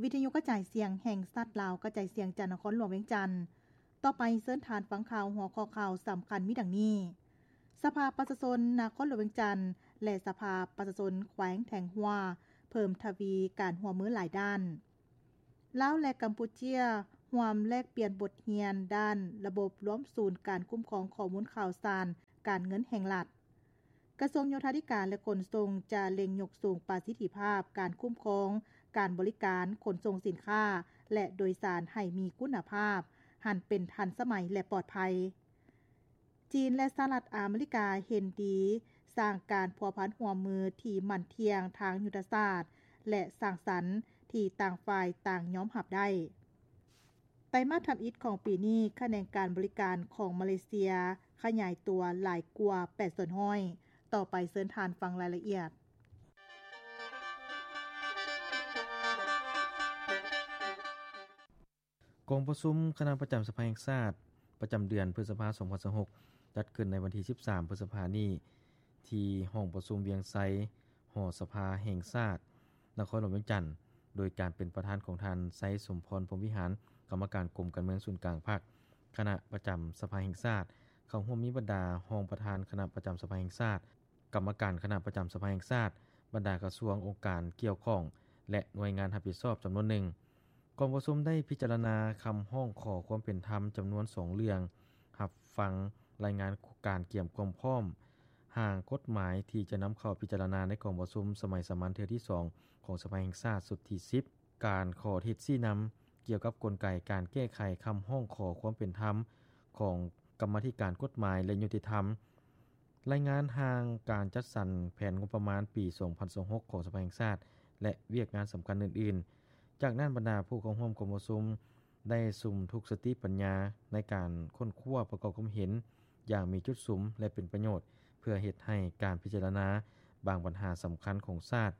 ວິທະຍຸກະຈາຍສຽງແຫ່ງຊາດລາວ ກະຈາຍສຽງຈາກນະຄອນຫຼວງວຽງຈັນ. ຕໍ່ໄປເຊີນທ່ານຟັງຂ່າວ ຫົວຂໍ້ຂ່າວສຳຄັນມີດັ່ງນີ້: ສະພາປະຊາຊົນນະຄອນຫຼວງວຽງຈັນ ແລະ ສະພາປະຊາຊົນແຂວງແທງຫົວ ເພີ່ມທະວີການຮ່ວມມືຫຼາຍດ້ານ. ລາວ ແລະ ກຳປູເຈຍ ຮ່ວມແລກປ່ຽນບົດຮຽນດ້ານລະບົບລວມສູນການຄຸ້ມຄອງຂໍ້ມູນຂ່າວສານການເງິນແຫ່ງລັດ. ກະຊວງໂຍທາທິການ ແລະ ຂົນສົ່ງ ຈະເລັ່ງຍົກສູງປະສິດທິພາບການຄຸ້ມຄອງການບໍລິການຂົນສົ່ງສິນຄ້າ ແລະ ໂດຍສານໃຫ້ມີຄຸນນະພາບ, ຫັນເປັນທັນສະໄໝ ແລະ ປອດໄພ. ຈີນ ແລະ ສະຫະລັດອາເມລິກາເຫັນດີສ້າງການພົວພັນຮ່ວມມືທີ່ໝັ້ນທ່ຽງທາງຍຸດທະສາດ ແລະ ສ້າງສັນທີ່ຕ່າງຝ່າຍຕ່າງຍອມຮັບໄດ້. ໄຕມາດທຳອິດຂອງປີນີ້, ຂະແໜງການບໍລິການຂອງມາເລເຊຍຂະຫຍາຍຕົວຫຼາຍກວ່າແປດສ່ວນຮ້ອຍ. ຕໍ່ໄປເຊີນທ່ານຟັງລາຍລະອຽດ. ກອງປະຊຸມຄະນະປະຈຳສະພາແຫ່ງຊາດ ປະຈຳເດືອນພຶດສະພາ ສອງພັນຊາວຫົກ ຈັດຂຶ້ນໃນວັນທີ ສິບສາມ ພຶດສະພານີ້ ທີ່ຫ້ອງປະຊຸມວຽງໄຊ ຫໍສະພາແຫ່ງຊາດ ນະຄອນຫຼວງວຽງຈັນ, ໂດຍການເປັນປະທານຂອງທ່ານ ໄຊສົມພອນ ພົມວິຫານ ກຳມະການກົມການເມືອງສູນກາງພັກ, ຄະນະປະຈຳສະພາແຫ່ງຊາດ, ເຂົ້າຮ່ວມມີບັນດາຮອງປະທານຄະນະປະຈຳສະພາແຫ່ງຊາດ, ກຳມະການຄະນະປະຈຳສະພາແຫ່ງຊາດ, ບັນດາກະຊວງ, ອົງການກ່ຽວຂ້ອງ ແລະ ໜ່ວຍງານຮັບຜິດຊອບຈຳນວນໜຶ່ງ. ກອງປະຊຸມໄດ້ພິຈາລະນາຄຳຮ້ອງຂໍຄວາມເປັນທຳຈຳນວນສອງເລື່ອງ, ຮັບຟັງລາຍງານການກຽມຄວາມພ້ອມຮ່າງກົດໝາຍທີ່ຈະນຳເຂົ້າພິຈາລະນາໃນກອງປະຊຸມສະໄໝສາມັນເທື່ອທີສອງຂອງສະພາແຫ່ງຊາດຊຸດທີສິບ, ການຂໍທິດຊີ້ນຳກ່ຽວກັບກົນໄກການແກ້ໄຂຄຳຮ້ອງຂໍຄວາມເປັນທຳຂອງກຳມາທິການກົດໝາຍ ແລະ ຍຸຕິທຳ, ລາຍງານຮ່າງການຈັດສັນແຜນງົບປະມານປີສອງພັນຊາວຫົກຂອງສະພາແຫ່ງຊາດ ແລະ ວຽກງານສຳຄັນອື່ນໆ. ຈາກນັ້ນ, ບັນດາຜູ້ເຂົ້າຮ່ວມກອງປະຊຸມໄດ້ສຸມທຸກສະຕິປັນຍາໃນການຄົ້ນຄວ້າປະກອບຄວາມເຫັນຢ່າງມີຈຸດສຸມ ແລະ ເປັນປະໂຫຍດ, ເພື່ອເຮັດໃຫ້ການພິຈາລະນາບາງບັນຫາສຳຄັນຂອງຊາດ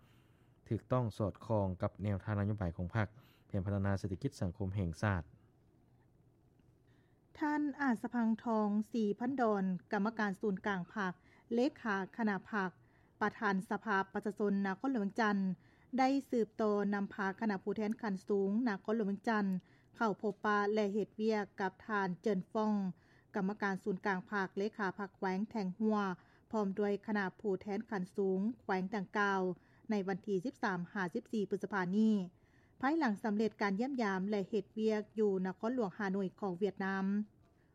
ຖືກຕ້ອງສອດຄ່ອງກັບແນວທາງນະໂຍບາຍຂອງພັກ, ແຜນພັດທະນາເສດຖະກິດສັງຄົມແຫ່ງຊາດ. ທ່ານ ອາດສະພັງທອງ ສີພັນດອນ ກຳມະການສູນກາງພັກ, ເລຂາຄະນະພັກ, ປະທານສະພາປະຊາຊົນນະຄອນຫຼວງວຽງຈັນ ໄດ້ສືບຕໍ່ນຳພາຄະນະຜູ້ແທນຂັ້ນສູງນະຄອນຫຼວງວຽງຈັນ ເຂົ້າພົບປະ ແລະ ເຮັດວຽກກັບທ່ານ ເຈີນຟອງ ກຳມະການສູນກາງພັກ, ເລຂາພັກແຂວງແທງຫົວ ພ້ອມດ້ວຍຄະນະຜູ້ແທນຂັ້ນສູງແຂວງດັ່ງກ່າວ ໃນວັນທີ ສິບສາມ ຫາ ສິບສີ່ ພຶດສະພານີ້. ພາຍຫຼັງສຳເລັດການຢ້ຽມຢາມ ແລະ ເຮັດວຽກຢູ່ນະຄອນຫຼວງຮ່າໂນ້ຍຂອງຫວຽດນາມ.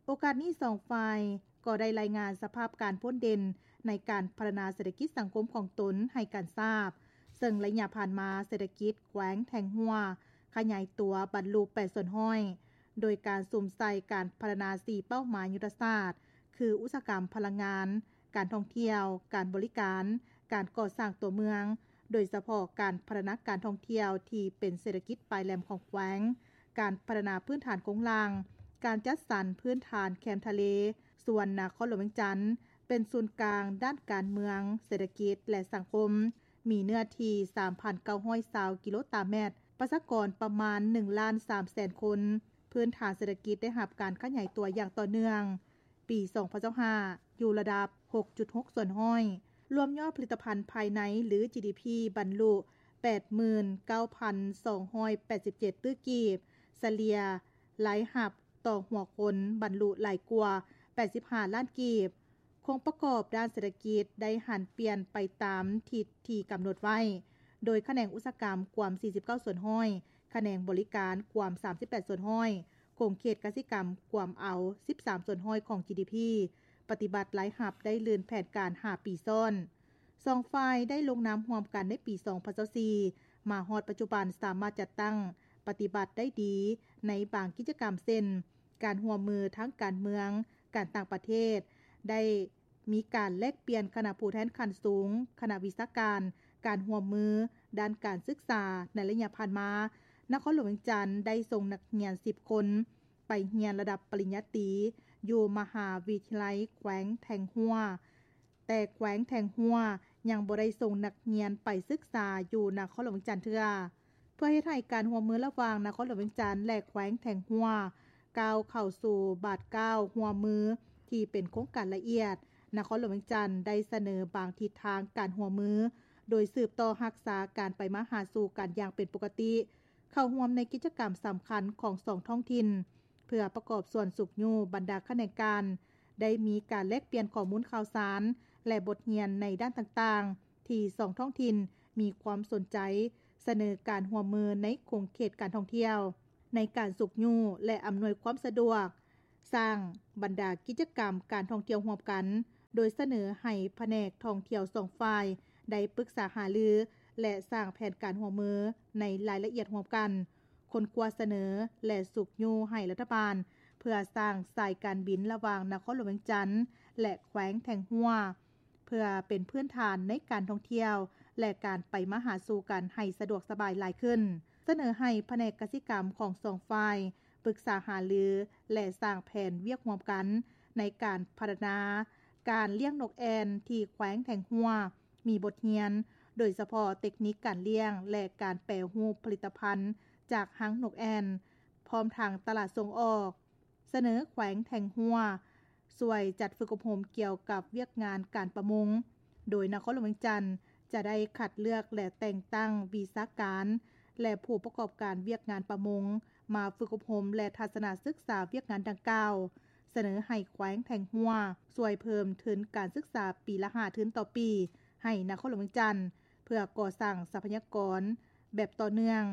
ໂອກາດນີ້ສອງຝ່າຍກໍໄດ້ລາຍງານສະພາບການພົ້ນເດັ່ນໃນການພັດທະນາເສດຖະກິດສັງຄົມຂອງຕົນໃຫ້ກັນຊາບ, ເຊິ່ງໄລຍະຜ່ານມາເສດຖະກິດແຂວງແທງຫົວຂະຫຍາຍຕົວບັນລຸແປດສ່ວນຮ້ອຍ ໂດຍການສຸມໃສ່ການພັດທະນາສີ່ເປົ້າໝາຍຍຸດທະສາດ ຄື ອຸດສາຫະກຳພະລັງງານ, ການທ່ອງທ່ຽວ, ການບໍລິການ, ການກໍ່ສ້າງຕົວເມືອງ, ໂດຍສະເພາະການພັດທະນາການທ່ອງທ່ຽວທີ່ເປັນເສດຖະກິດປາຍແຫຼມຂອງແຂວງ, ການພັດທະນາພື້ນຖານໂຄງລ່າງ, ການຈັດສັນພື້ນຖານແຄມທະເລ, ສ່ວນນະຄອນຫຼວງວຽງຈັນເປັນສູນກາງດ້ານການເມືອງ, ເສດຖະກິດ ແລະ ສັງຄົມ, ມີເນື້ອທີ່ ສາມພັນເກົ້າຮ້ອຍຊາວກິໂລຕາແມັດ, ປະຊາກອນປະມານ ໜຶ່ງລ້ານສາມແສນຄົນ, ພື້ນຖານເສດຖະກິດໄດ້ຮັບການຂະຫຍາຍຕົວຢ່າງຕໍ່ເນື່ອງ. ປີສອງພັນຊາວຫ້າ ຢູ່ລະດັບ ຫົກຈຸດຫົກສ່ວນຮ້ອຍ ລວມຍອດຜະລິດຕະພັນພາຍໃນ ຫຼື ຈີດີພີ ບັນລຸ ແປດໝື່ນເກົ້າພັນສອງຮ້ອຍແປດສິບເຈັດຕື້ກີບ, ສະເລ່ຍລາຍຮັບຕໍ່ຫົວຄົນບັນລຸຫຼາຍກວ່າ ແປດສິບຫ້າລ້ານກີບ. ໂຄງປະກອບດ້ານເສດຖະກິດໄດ້ຫັນປ່ຽນໄປຕາມທິດທີ່ກຳນົດໄວ້, ໂດຍຂະແໜງອຸດສາຫະກຳກວມ ສີ່ສິບເກົ້າສ່ວນຮ້ອຍ, ຂະແໜງບໍລິການກວມ ສາມສິບແປດສ່ວນຮ້ອຍ, ຂົງເຂດກະສິກຳກວມເອົາ ສິບສາມສ່ວນຮ້ອຍຂອງ ຈີດີພີ, ປະຕິບັດລາຍຮັບໄດ້ລື່ນແຜນການຫ້າປີຊ້ອນ. ສອງຝ່າຍໄດ້ລົງນາມຮ່ວມກັນໃນປີສອງພັນຊາວສີ່ ມາຮອດປັດຈຸບັນສາມາດຈັດຕັ້ງປະຕິບັດໄດ້ດີໃນບາງກິດຈະກຳ ເຊັ່ນ ການຮ່ວມມືທາງການເມືອງ, ການຕ່າງປະເທດ, ໄດ້ ມີການແລກປ່ຽນຄະນະຜູ້ແທນຂັ້ນສູງ, ຄະນະວິຊາການ, ການຮ່ວມມືດ້ານການສຶກສາ. ໃນໄລຍະຜ່ານມາ, ນະຄອນຫຼວງວຽງຈັນໄດ້ສົ່ງນັກຮຽນສິບຄົນໄປຮຽນລະດັບປະລິນຍາຕີຢູ່ມະຫາວິທະຍາໄລແຂວງແທງຫົວ, ແຕ່ແຂວງແທງຫົວຍັງບໍ່ໄດ້ສົ່ງນັກຮຽນໄປສຶກສາຢູ່ນະຄອນຫຼວງວຽງຈັນເທື່ອ. ເພື່ອເຮັດໃຫ້ການຮ່ວມມືລະຫວ່າງນະຄອນຫຼວງວຽງຈັນ ແລະ ແຂວງແທງຫົວ ກ້າວເຂົ້າສູ່ບາດກ້າວຮ່ວມມືທີ່ເປັນໂຄງການລະອຽດ, ນະຄອນຫຼວງວຽງຈັນໄດ້ສະເໜີບາງທິດທາງການຮ່ວມມື, ໂດຍສືບຕໍ່ຮັກສາການໄປມາຫາສູ່ກັນຢ່າງເປັນປົກກະຕິ, ເຂົ້າຮ່ວມໃນກິດຈະກຳສຳຄັນຂອງສອງທ້ອງຖິ່ນ ເພື່ອປະກອບສ່ວນຊຸກຍູ້ບັນດາຂະແໜງການ ໄດ້ມີການແລກປ່ຽນຂໍ້ມູນຂ່າວສານ ແລະ ບົດຮຽນໃນດ້ານຕ່າງໆ ທີ່ສອງທ້ອງຖິ່ນມີຄວາມສົນໃຈ ສະເໜີການຮ່ວມມືໃນຂົງເຂດການທ່ອງທ່ຽວ ໃນການຊຸກຍູ້ ແລະ ອຳນວຍຄວາມສະດວກ ສ້າງບັນດາກິດຈະກຳການທ່ອງທ່ຽວຮ່ວມກັນ, ໂດຍສະເໜີໃຫ້ພະແນກທ່ອງທ່ຽວສອງຝ່າຍໄດ້ປຶກສາຫາລື ແລະ ສ້າງແຜນການຮ່ວມມືໃນລາຍລະອຽດຮ່ວມກັນ, ຄົ້ນຄວ້າສະເໜີ ແລະ ຊຸກຍູ້ໃຫ້ລັດຖະບານ ເພື່ອສ້າງສາຍການບິນລະຫວ່າງນະຄອນຫຼວງວຽງຈັນ ແລະ ແຂວງແທງຫົວ ເພື່ອເປັນພື້ນຖານໃນການທ່ອງທ່ຽວ ແລະ ການໄປມາຫາສູ່ກັນໃຫ້ສະດວກສະບາຍຫຼາຍຂຶ້ນ. ສະເໜີໃຫ້ພະແນກກະສິກຳຂອງສອງຝ່າຍປຶກສາຫາລື ແລະ ສ້າງແຜນວຽກຮ່ວມກັນໃນການພັດທະນາການລ້ຽງນົກແອ່ນທີ່ແຂວງແທງຫົວ ມີບົດຮຽນ ໂດຍສະເພາະເຕັກນິກການລ້ຽງ ແລະ ການແປຮູບຜະລິດຕະພັນຈາກຮັງນົກແອ່ນ ພ້ອມທັງຕະຫຼາດສົ່ງອອກ. ສະເໜີແຂວງແທງຫົວຊ່ວຍຈັດຝຶກອົບຮົມກ່ຽວກັບວຽກງານການປະມົງ, ໂດຍນະຄອນຫຼວງວຽງຈັນຈະໄດ້ຄັດເລືອກ ແລະ ແຕ່ງຕັ້ງວິຊາການ ແລະ ຜູ້ປະກອບການວຽກງານປະມົງ ມາຝຶກອົບຮົມ ແລະ ທັດສະນະສຶກສາວຽກງານດັ່ງກ່າວ. ສະເໜີໃຫ້ແຂວງແທງຫົວຊ່ວຍເພີ່ມທຶນການສຶກສາປີລະຫ້າທຶນຕໍ່ປີ ໃຫ້ນະຄອນຫຼວງວຽງຈັນ ເພື່ອກໍ່ສ້າງຊັບພະຍາກອນແບບຕໍ່ເນື່ອງ,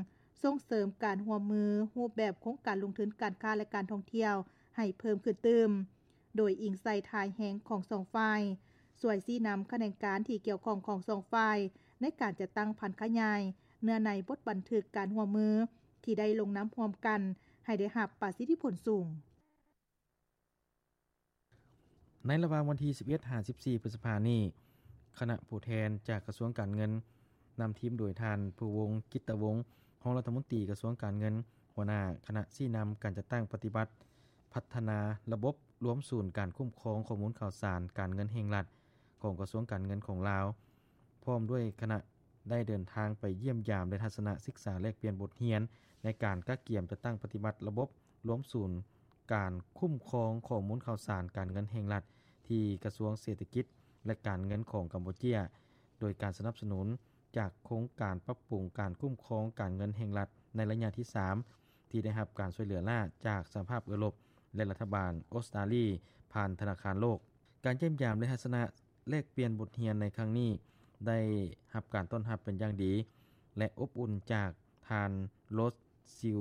ສົ່ງເສີມການຮ່ວມມືຮູບແບບໂຄງການລົງທຶນການຄ້າ ແລະ ການທ່ອງທ່ຽວໃຫ້ເພີ່ມຂຶ້ນຕື່ມ, ໂດຍອີງໃສ່ທ່າແຮງຂອງສອງຝ່າຍ, ຊ່ວຍຊີ້ນຳຂະແໜງການທີ່ກ່ຽວຂ້ອງຂອງສອງຝ່າຍ ໃນການຈັດຕັ້ງຜັນຂະຫຍາຍເນື້ອໃນບົດບັນທຶກການຮ່ວມມືທີ່ໄດ້ລົງນາມຮ່ວມກັນ ໃຫ້ໄດ້ຮັບປະສິດທິຜົນສູງ. ໃນລະຫວ່າງວັນທີສິບເອັດຫາສິບສີ່ ພຶດສະພານີ້, ຄະນະຜູ້ແທນຈາກກະຊວງການເງິນ ນຳທີມໂດຍທ່ານ ພູວົງ ກິດຕະວົງ ຮອງລັດຖະມົນຕີກະຊວງການເງິນ, ຫົວໜ້າຄະນະຊີ້ນຳການຈັດຕັ້ງປະຕິບັດ ພັດທະນາລະບົບລວມສູນການຄຸ້ມຄອງຂໍ້ມູນຂ່າວສານການເງິນແຫ່ງລັດ ຂອງກະຊວງການເງິນຂອງລາວ ພ້ອມດ້ວຍຄະນະ ໄດ້ເດີນທາງໄປຢ້ຽມຢາມ ແລະ ທັດສະນະສຶກສາແລກປ່ຽນບົດຮຽນໃນການກະກຽມຈັດຕັ້ງປະຕິບັດລະບົບລວມສູນການຄຸ້ມຄອງຂໍ້ມູນຂ່າວສານການເງິນແຫ່ງລັດ ທີ່ກະຊວງເສດຖະກິດ ແລະ ການເງິນຂອງກຳປູເຈຍ, ໂດຍການສະໜັບສະໜູນຈາກໂຄງການປັບປຸງການຄຸ້ມຄອງການເງິນແຫ່ງລັດໃນໄລຍະທີສາມ ທີ່ໄດ້ຮັບການຊ່ວຍເຫຼືອລ້າຈາກສະຫະພາບເອີຣົບ ແລະ ລັດຖະບານອົດສະຕາລີ ຜ່ານທະນາຄານໂລກ. ການຢ້ຽມຢາມ ແລະ ທັດສະນະ ແລກປ່ຽນບົດຮຽນໃນຄັ້ງນີ້ ໄດ້ຮັບການຕ້ອນຮັບເປັນຢ່າງດີ ແລະ ອົບອຸ່ນຈາກທ່ານ ໂຣສ ຊິວ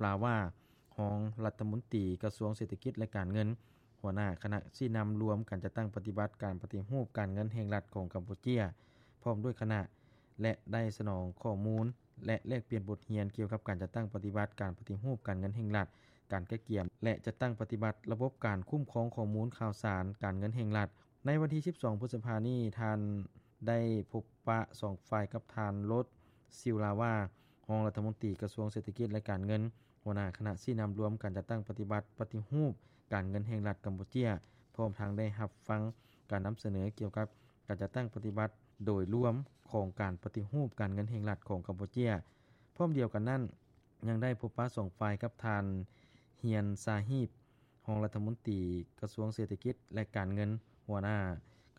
ລາວາ ຮອງລັດຖະມົນຕີກະຊວງເສດຖະກິດ ແລະ ການເງິນ, ຫົວໜ້າຄະນະຊີ້ນຳລວມການຈັດຕັ້ງປະຕິບັດການປະຕິຮູບການເງິນແຫ່ງລັດຂອງກຳປູເຈຍ ພ້ອມດ້ວຍຄະນະ ແລະ ໄດ້ສະໜອງຂໍ້ມູນ ແລະ ແລກປ່ຽນບົດຮຽນກ່ຽວກັບການຈັດຕັ້ງປະຕິບັດການປະຕິຮູບການເງິນແຫ່ງລັດ, ການກະກຽມ ແລະ ຈັດຕັ້ງປະຕິບັດລະບົບການຄຸ້ມຄອງຂໍ້ມູນຂ່າວສານການເງິນແຫ່ງລັດ. ໃນວັນທີສິບສອງ ພຶດສະພານີ້, ທ່ານໄດ້ພົບປະສອງຝ່າຍກັບທ່ານ ໂຣສ ຊິວລາວາ ຮອງລັດຖະມົນຕີກະຊວງເສດຖະກິດ ແລະ ການເງິນ, ຫົວໜ້າຄະນະຊີ້ນຳລວມການຈັດຕັ້ງປະຕິບັດປະຕິຮູບການເງິນແຫ່ງລັດກຳປູເຈຍ, ພ້ອມທັງໄດ້ຮັບຟັງການນຳສະເໜີກ່ຽວກັບການຈັດຕັ້ງປະຕິບັດໂດຍລວມຂອງການປະຕິຮູບການເງິນແຫ່ງລັດຂອງກຳປູເຈຍ. ພ້ອມດຽວກັນນັ້ນ, ຍັງໄດ້ພົບປະສອງຝ່າຍກັບທ່ານ ຮຽນ ຊາຮີບ ຮອງລັດຖະມົນຕີກະຊວງເສດຖະກິດ ແລະ ການເງິນ, ຫົວໜ້າ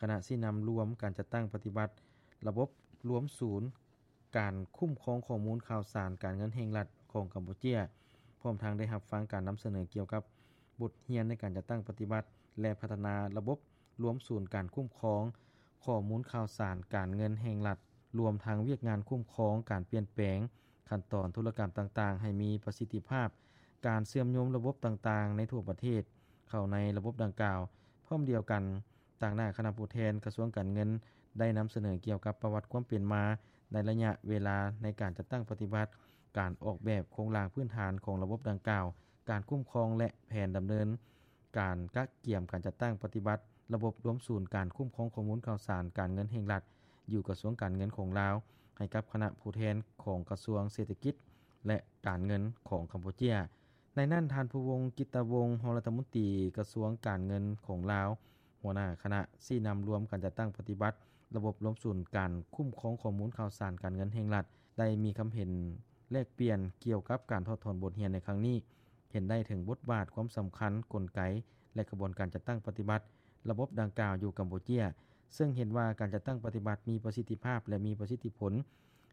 ຄະນະຊີ້ນຳລວມການຈັດຕັ້ງປະຕິບັດລະບົບລວມສູນການຄຸ້ມຄອງຂໍ້ມູນຂ່າວສານການເງິນແຫ່ງລັດຂອງກຳປູເຈຍ, ພ້ອມທັງໄດ້ຮັບຟັງການນຳສະເໜີກ່ຽວກັບບົດຮຽນໃນການຈັດຕັ້ງປະຕິບັດ ແລະ ພັດທະນາລະບົບລວມສູນການຄຸ້ມຄອງ ຂໍ້ມູນຂ່າວສານການເງິນແຫ່ງລັດ, ລວມທັງວຽກງານຄຸ້ມຄອງການປ່ຽນແປງຂັ້ນຕອນທຸລະກຳຕ່າງໆ ໃຫ້ມີປະສິດທິພາບ, ການເຊື່ອມໂຍງລະບົບຕ່າງໆໃນທົ່ວປະເທດເຂົ້າໃນລະບົບດັ່ງກ່າວ. ພ້ອມດຽວກັນ, ຕາງໜ້າຄະນະຜູ້ແທນກະຊວງການເງິນໄດ້ນຳສະເໜີກ່ຽວກັບປະຫວັດຄວາມເປັນມາໃນໄລຍະເວລາໃນການຈັດຕັ້ງປະຕິບັດ, ການອອກແບບໂຄງລ່າງພື້ນຖານຂອງລະບົບດັ່ງກ່າວ, ການຄຸ້ມຄອງ ແລະ ແຜນດຳເນີນ ການກະກຽມການຈັດຕັ້ງປະຕິບັດລະບົບລວມສູນການຄຸ້ມຄອງຂໍ້ມູນຂ່າວສານການເງິນແຫ່ງລັດ ຢູ່ກະຊວງການເງິນຂອງລາວ ໃຫ້ກັບຄະນະຜູ້ແທນຂອງກະຊວງເສດຖະກິດ ແລະ ການເງິນຂອງກຳປູເຈຍ. ໃນນັ້ນ, ທ່ານ ພູວົງ ກິດຕະວົງ ຮອງລັດຖະມົນຕີກະຊວງການເງິນຂອງລາວ, ຫົວໜ້າຄະນະຊີ້ນຳລວມການຈັດຕັ້ງປະຕິບັດລະບົບລວມສູນການຄຸ້ມຄອງຂໍ້ມູນຂ່າວສານການເງິນແຫ່ງລັດ ໄດ້ມີຄຳເຫັນແລກປ່ຽນກ່ຽວກັບການຖອດຖອນບົດຮຽນໃນຄັ້ງນີ້. ເຫັນໄດ້ເຖິງບົດບາດ, ຄວາມສຳຄັນ, ກົນໄກ ແລະ ຂະບວນການຈັດຕັ້ງປະຕິບັດລະບົບດັ່ງກ່າວຢູ່ກຳປູເຈຍ, ເຊິ່ງເຫັນວ່າການຈັດຕັ້ງປະຕິບັດມີປະສິດທິພາບ ແລະ ມີປະສິດທິຜົນ,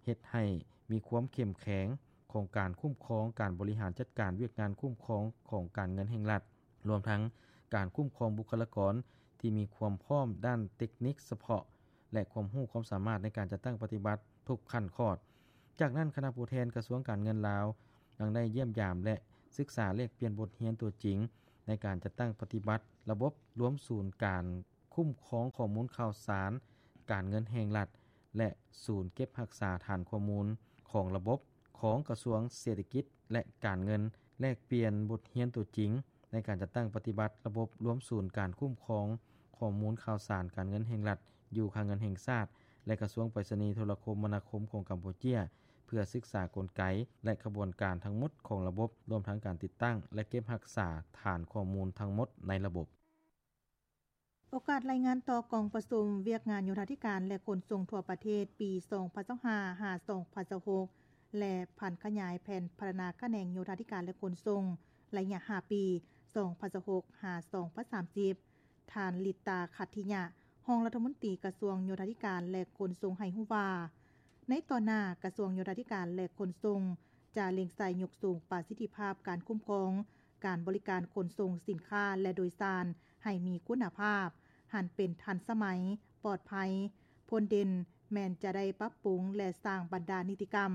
ເຮັດໃຫ້ມີຄວາມເຂັ້ມແຂງ ຂອງການຄຸ້ມຄອງ, ການບໍລິຫານຈັດການວຽກງານຄຸ້ມຄອງຂອງການເງິນແຫ່ງລັດ, ລວມທັງການຄຸ້ມຄອງບຸກຄະລາກອນທີ່ມີຄວາມພ້ອມດ້ານເຕັກນິກສະເພາະ ແລະ ຄວາມຮູ້ຄວາມສາມາດໃນການຈັດຕັ້ງປະຕິບັດທຸກຂັ້ນຂອດ. ຈາກນັ້ນ, ຄະນະຜູ້ແທນກະຊວງການເງິນລາວ ຍັງໄດ້ຢ້ຽມຢາມ ແລະ ສຶກສາແລກປ່ຽນບົດຮຽນຕົວຈິງ ໃນການຈັດຕັ້ງປະຕິບັດລະບົບລວມສູນການຄຸ້ມຄອງຂໍ້ມູນຂ່າວສານການເງິນແຫ່ງລັດ ແລະ ສູນເກັບຮັກສາຖານຂໍ້ມູນຂອງລະບົບຂອງກະຊວງເສດຖະກິດ ແລະ ການເງິນ, ແລກປ່ຽນບົດຮຽນຕົວຈິງ ໃນການຈັດຕັ້ງປະຕິບັດລະບົບລວມສູນການຄຸ້ມຄອງຂໍ້ມູນຂ່າວສານການເງິນແຫ່ງລັດ ຢູ່ຄັງເງິນແຫ່ງຊາດ ແລະ ກະຊວງໄປສະນີໂທລະຄົມມະນາຄົມຂອງກຳປູເຈຍ ເພື່ອສຶກສາກົນໄກ ແລະ ຂະບວນການທັງໝົດຂອງລະບົບ, ລວມທັງການຕິດຕັ້ງ ແລະ ເກັບຮັກສາຖານຂໍ້ມູນທັງໝົດໃນລະບົບ. ໂອກາດລາຍງານຕໍ່ກອງປະຊຸມວຽກງານໂຍທາທິການ ແລະ ຂົນສົ່ງທົ່ວປະເທດປີສອງພັນຊາວຫ້າ ຫາ ສອງພັນຊາວຫົກ ແລະ ຜັນຂະຫຍາຍແຜນພັດທະນາຂະແໜງໂຍທາທິການ ແລະ ຂົນສົ່ງ ໄລຍະຫ້າປີ ສອງພັນຊາວຫົກ ຫາ ສອງພັນສາມສິບ ທ່ານ ລິດຕາ ຂັດທິຍະ ຮອງລັດຖະມົນຕີກະຊວງໂຍທາທິການ ແລະ ຂົນສົ່ງ ໃຫ້ຮູ້ວ່າ ໃນຕໍ່ໜ້າ ກະຊວງໂຍທາທິການ ແລະ ຂົນສົ່ງ ຈະເລັ່ງໃສ່ຍົກສູງປະສິດທິພາບການຄຸ້ມຄອງການບໍລິການຂົນສົ່ງສິນຄ້າ ແລະ ໂດຍສານໃຫ້ມີຄຸນນະພາບ, ຫັນເປັນທັນສະໄໝ, ປອດໄພ. ຜົນເດັ່ນແມ່ນຈະໄດ້ປັບປຸງ ແລະ ສ້າງບັນດານິຕິກຳ,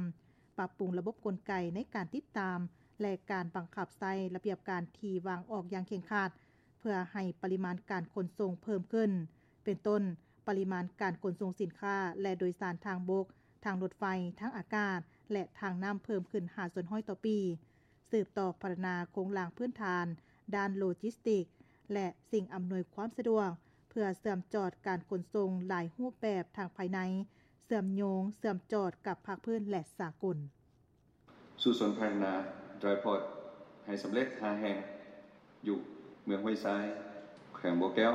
ປັບປຸງລະບົບກົນໄກໃນການຕິດຕາມ ແລະ ການບັງຄັບໃຊ້ລະບຽບການທີ່ວາງອອກຢ່າງເຄັ່ງຄັດ ເພື່ອໃຫ້ປະລິມານການຂົນສົ່ງເພີ່ມຂຶ້ນ, ເປັນຕົ້ນ ປະລິມານການຂົນສົ່ງສິນຄ້າ ແລະ ໂດຍສານທາງບົກ, ທາງລົດໄຟ, ທາງອາກາດ ແລະ ທາງນ້ຳເພີ່ມຂຶ້ນຫ້າສ່ວນຮ້ອຍຕໍ່ປີ, ສືບຕໍ່ພັດທະນາໂຄງລ່າງພື້ນຖານດ້ານໂລຈິສຕິກ ແລະ ສິ່ງອຳນວຍຄວາມສະດວກ ເພື່ອເຊື່ອມຈອດການຂົນສົ່ງຫຼາຍຮູບແບບທາງພາຍໃນ, ເຊື່ອມໂຍງ, ເຊື່ອມຈອດກັບພາກພື້ນ ແລະ ສາກົນ. ສູ້ຊົນພັດທະນາ Dry Port ໃຫ້ສຳເລັດຫ້າແຫ່ງ ຢູ່ເມືອງຫ້ວຍຊາຍ, ແຂວງບໍ່ແກ້ວ,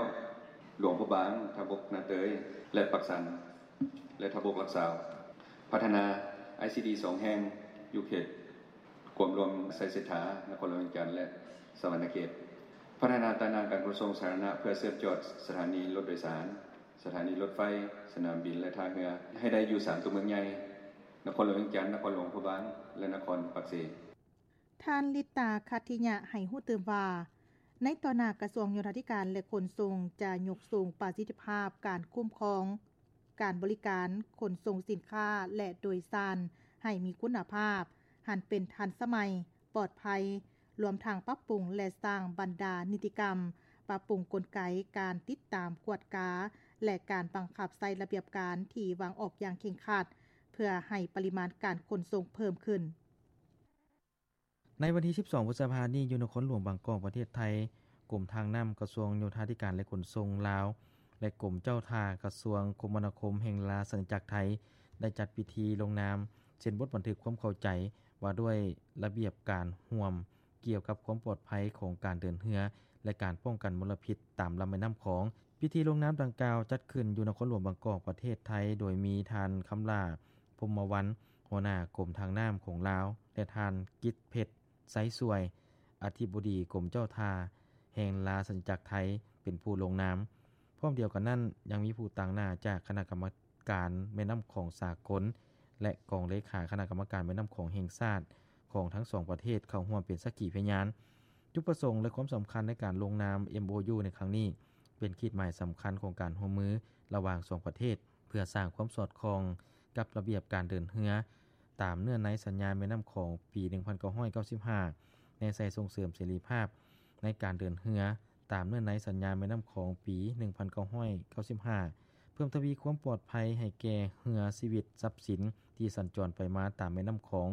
ຫຼວງພະບາງ, ທ່າບົກ, ນາເຕີຍ ແລະ ປາກຊັນ ແລະ ທ່າບົກຫຼັກຊາວ. ພັດທະນາ ໄອຊີດີ ສອງແຫ່ງ ຢູ່ເຂດກວມລວມໄຊເສດຖາ, ນະຄອນຫຼວງວຽງຈັນ ແລະ ສະຫວັນນະເຂດ. ພັດທະນາຕາໜ່າງການຂົນສົ່ງສາທາລະນະ ເພື່ອເຊື່ອມຈອດສະຖານີລົດໂດຍສານ, ສະຖານີລົດໄຟ, ສະໜາມບິນ ແລະ ທ່າເຮືອ ໃຫ້ໄດ້ຢູ່ສາມຕົວເມືອງໃຫຍ່ ນະຄອນຫຼວງວຽງຈັນ, ນະຄອນຫຼວງພະບາງ ແລະ ນະຄອນປາກເຊ. ທ່ານ ລິດຕາ ຂັດທິຍະ ໃຫ້ຮູ້ຕື່ມວ່າ ໃນຕໍ່ໜ້າ ກະຊວງໂຍທາທິການ ແລະ ຂົນສົ່ງ ຈະຍົກສູງປະສິດທິພາບການຄຸ້ມຄອງການບໍລິການຂົນສົ່ງສິນຄ້າ ແລະ ໂດຍສານໃຫ້ມີຄຸນນະພາບ, ຫັນເປັນທັນສະໄໝ, ປອດໄພ, ລວມທັງປັບປຸງ ແລະ ສ້າງບັນດານິຕິກຳ, ປັບປຸງກົນໄກການຕິດຕາມກວດກາ ແລະ ການບັງຄັບໃຊ້ລະບຽບການທີ່ວາງອອກຢ່າງເຄັ່ງຄັດ ເພື່ອໃຫ້ປະລິມານການຂົນສົ່ງເພີ່ມຂຶ້ນ. ໃນວັນທີສິບສອງ ພຶດສະພານີ້ ຢູ່ນະຄອນຫຼວງບາງກອກ ປະເທດໄທ, ກົມທາງນ້ຳ ກະຊວງໂຍທາທິການ ແລະ ຂົນສົ່ງລາວ ແລະ ກົມເຈົ້າທ່າ ກະຊວງຄົມມະນາຄົມແຫ່ງລາຊະອານາຈັກໄທ ໄດ້ຈັດພິທີລົງນາມເຊັນບົດບັນທຶກຄວາມເຂົ້າໃຈວ່າດ້ວຍລະບຽບການຮ່ວມ ກ່ຽວກັບຄວາມປອດໄພຂອງການເດີນເຮືອ ແລະ ການປ້ອງກັນມົນລະພິດຕາມລຳແມ່ນ້ຳຂອງ. ພິທີລົງນາມດັ່ງກ່າວຈັດຂຶ້ນຢູ່ນະຄອນຫຼວງບາງກອກ ປະເທດໄທ, ໂດຍມີທ່ານ ຄຳຫຼ້າ ພົມມະວັນ ຫົວໜ້າກົມທາງນ້ຳຂອງລາວ ແລະ ທ່ານ ກິດເພັດ ໄຊສວຍ ອະທິບໍດີກົມເຈົ້າທ່າແຫ່ງລາຊະອານາຈັກໄທ ເປັນຜູ້ລົງນາມ. ພ້ອມດຽວກັນນັ້ນ, ຍັງມີຜູ້ຕາງໜ້າຈາກຄະນະກຳມະການແມ່ນ້ຳຂອງສາກົນ ແລະ ກອງເລຂາຄະນະກຳມະການແມ່ນ້ຳຂອງແຫ່ງຊາດຂອງທັງສອງປະເທດເຂົ້າຮ່ວມເປັນສັກຂີພະຍານ. ຈຸດປະສົງ ແລະ ຄວາມສຳຄັນໃນການລົງນາມ ເອັມໂອຢູ ໃນຄັ້ງນີ້ ເປັນຂີດໝາຍສຳຄັນຂອງການຮ່ວມມືລະຫວ່າງສອງປະເທດ ເພື່ອສ້າງຄວາມສອດຄ່ອງກັບລະບຽບການເດີນເຮືອ ຕາມເນື້ອໃນສັນຍາແມ່ນ້ຳຂອງປີໜຶ່ງພັນເກົ້າຮ້ອຍເກົ້າສິບຫ້າ ແນໃສ່ສົ່ງເສີມເສລີພາບໃນການເດີນເຮືອ ຕາມເນື້ອໃນສັນຍາແມ່ນ້ຳຂອງປີໜຶ່ງພັນເກົ້າຮ້ອຍເກົ້າສິບຫ້າ ເພີ່ມທະວີຄວາມປອດໄພໃຫ້ແກ່ເຮືອ, ຊີວິດ, ຊັບສິນທີ່ສັນຈອນໄປມາຕາມແມ່ນ້ຳຂອງ,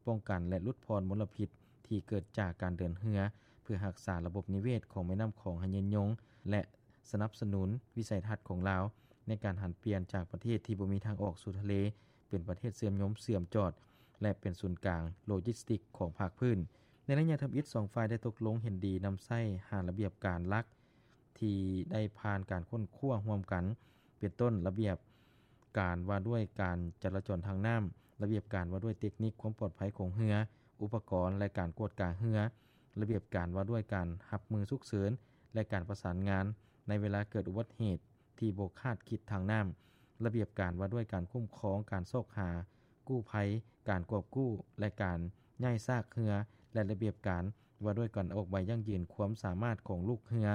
ປ້ອງກັນ ແລະ ຫຼຸດຜ່ອນມົນລະພິດທີ່ເກີດຈາກການເດີນເຮືອ ເພື່ອຮັກສາລະບົບນິເວດຂອງແມ່ນ້ຳຂອງໃຫ້ຍືນຍົງ ແລະ ສະໜັບສະໜູນວິໄສທັດຂອງລາວ ໃນການຫັນປ່ຽນຈາກປະເທດທີ່ບໍ່ມີທາງອອກສູ່ທະເລ ເປັນປະເທດເຊື່ອມໂຍມເຊື່ອມຈອດ ແລະ ເປັນສູນກາງໂລຈິສຕິກຂອງພາກພື້ນ. ໃນໄລຍະທຳອິດ, ສອງຝ່າຍໄດ້ຕົກລົງເຫັນດີນຳໃຊ້ຫ້າລະບຽບການຫຼັກ ທີ່ໄດ້ຜ່ານການຄົ້ນຄວ້າຮ່ວມກັນ ເປັນຕົ້ນ ລະບຽບການວ່າດ້ວຍການຈະລາຈອນທາງນ້ຳ, ລະບຽບການວ່າດ້ວຍເຕັກນິກຄວາມປອດໄພຂອງເຮືອ, ອຸປະກອນ ແລະ ການກວດກາເຮືອ, ລະບຽບການວ່າດ້ວຍການຮັບມືສຸກເສີນ ແລະ ການປະສານງານໃນເວລາເກີດອຸບັດເຫດທີ່ບໍ່ຄາດຄິດທາງນ້ຳ, ລະບຽບການວ່າດ້ວຍການຄຸ້ມຄອງການຊອກຫາກູ້ໄພ, ການກອບກູ້ ແລະ ການ ຍ້າຍຊາກເຮືອ ແລະ ລະບຽບການວ່າດ້ວຍການອອກໃບຢັ້ງຢືນຄວາມສາມາດຂອງລູກເຮືອ.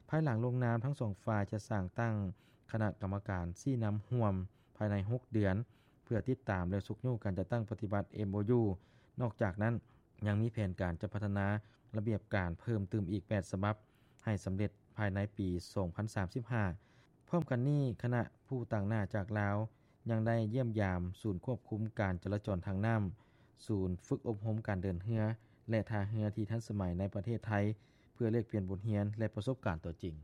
ພາຍຫຼັງລົງນາມ, ທັງສອງຝ່າຍຈະສ້າງຕັ້ງຄະນະກຳມະການຊີ້ນຳຮ່ວມພາຍໃນຫົກເດືອນ ເພື່ອຕິດຕາມ ແລະ ຊຸກຍູ້ການຈັດຕັ້ງປະຕິບັດ ເອັມໂອຢູ. ນອກຈາກນັ້ນ, ຍັງມີແຜນການຈະພັດທະນາລະບຽບການເພີ່ມຕື່ມອີກແປດສະບັບ ໃຫ້ສຳເລັດພາຍໃນປີສອງພັນສາມສິບຫ້າ. ພ້ອມກັນນີ້, ຄະນະຜູ້ຕາງໜ້າຈາກລາວ ຍັງໄດ້ຢ້ຽມຢາມສູນຄວບຄຸມການຈະລາຈອນທາງນ້ຳ, ສູນຝຶກອົບຮົມການເດີນເຮືອ ແລະ ທ່າເຮືອທີ່ທັນສະໄໝໃນປະເທດໄທ ເພື່ອແລກປ່ຽນບົດຮຽນ ແລະ ປະສົບການຕົວຈິງ.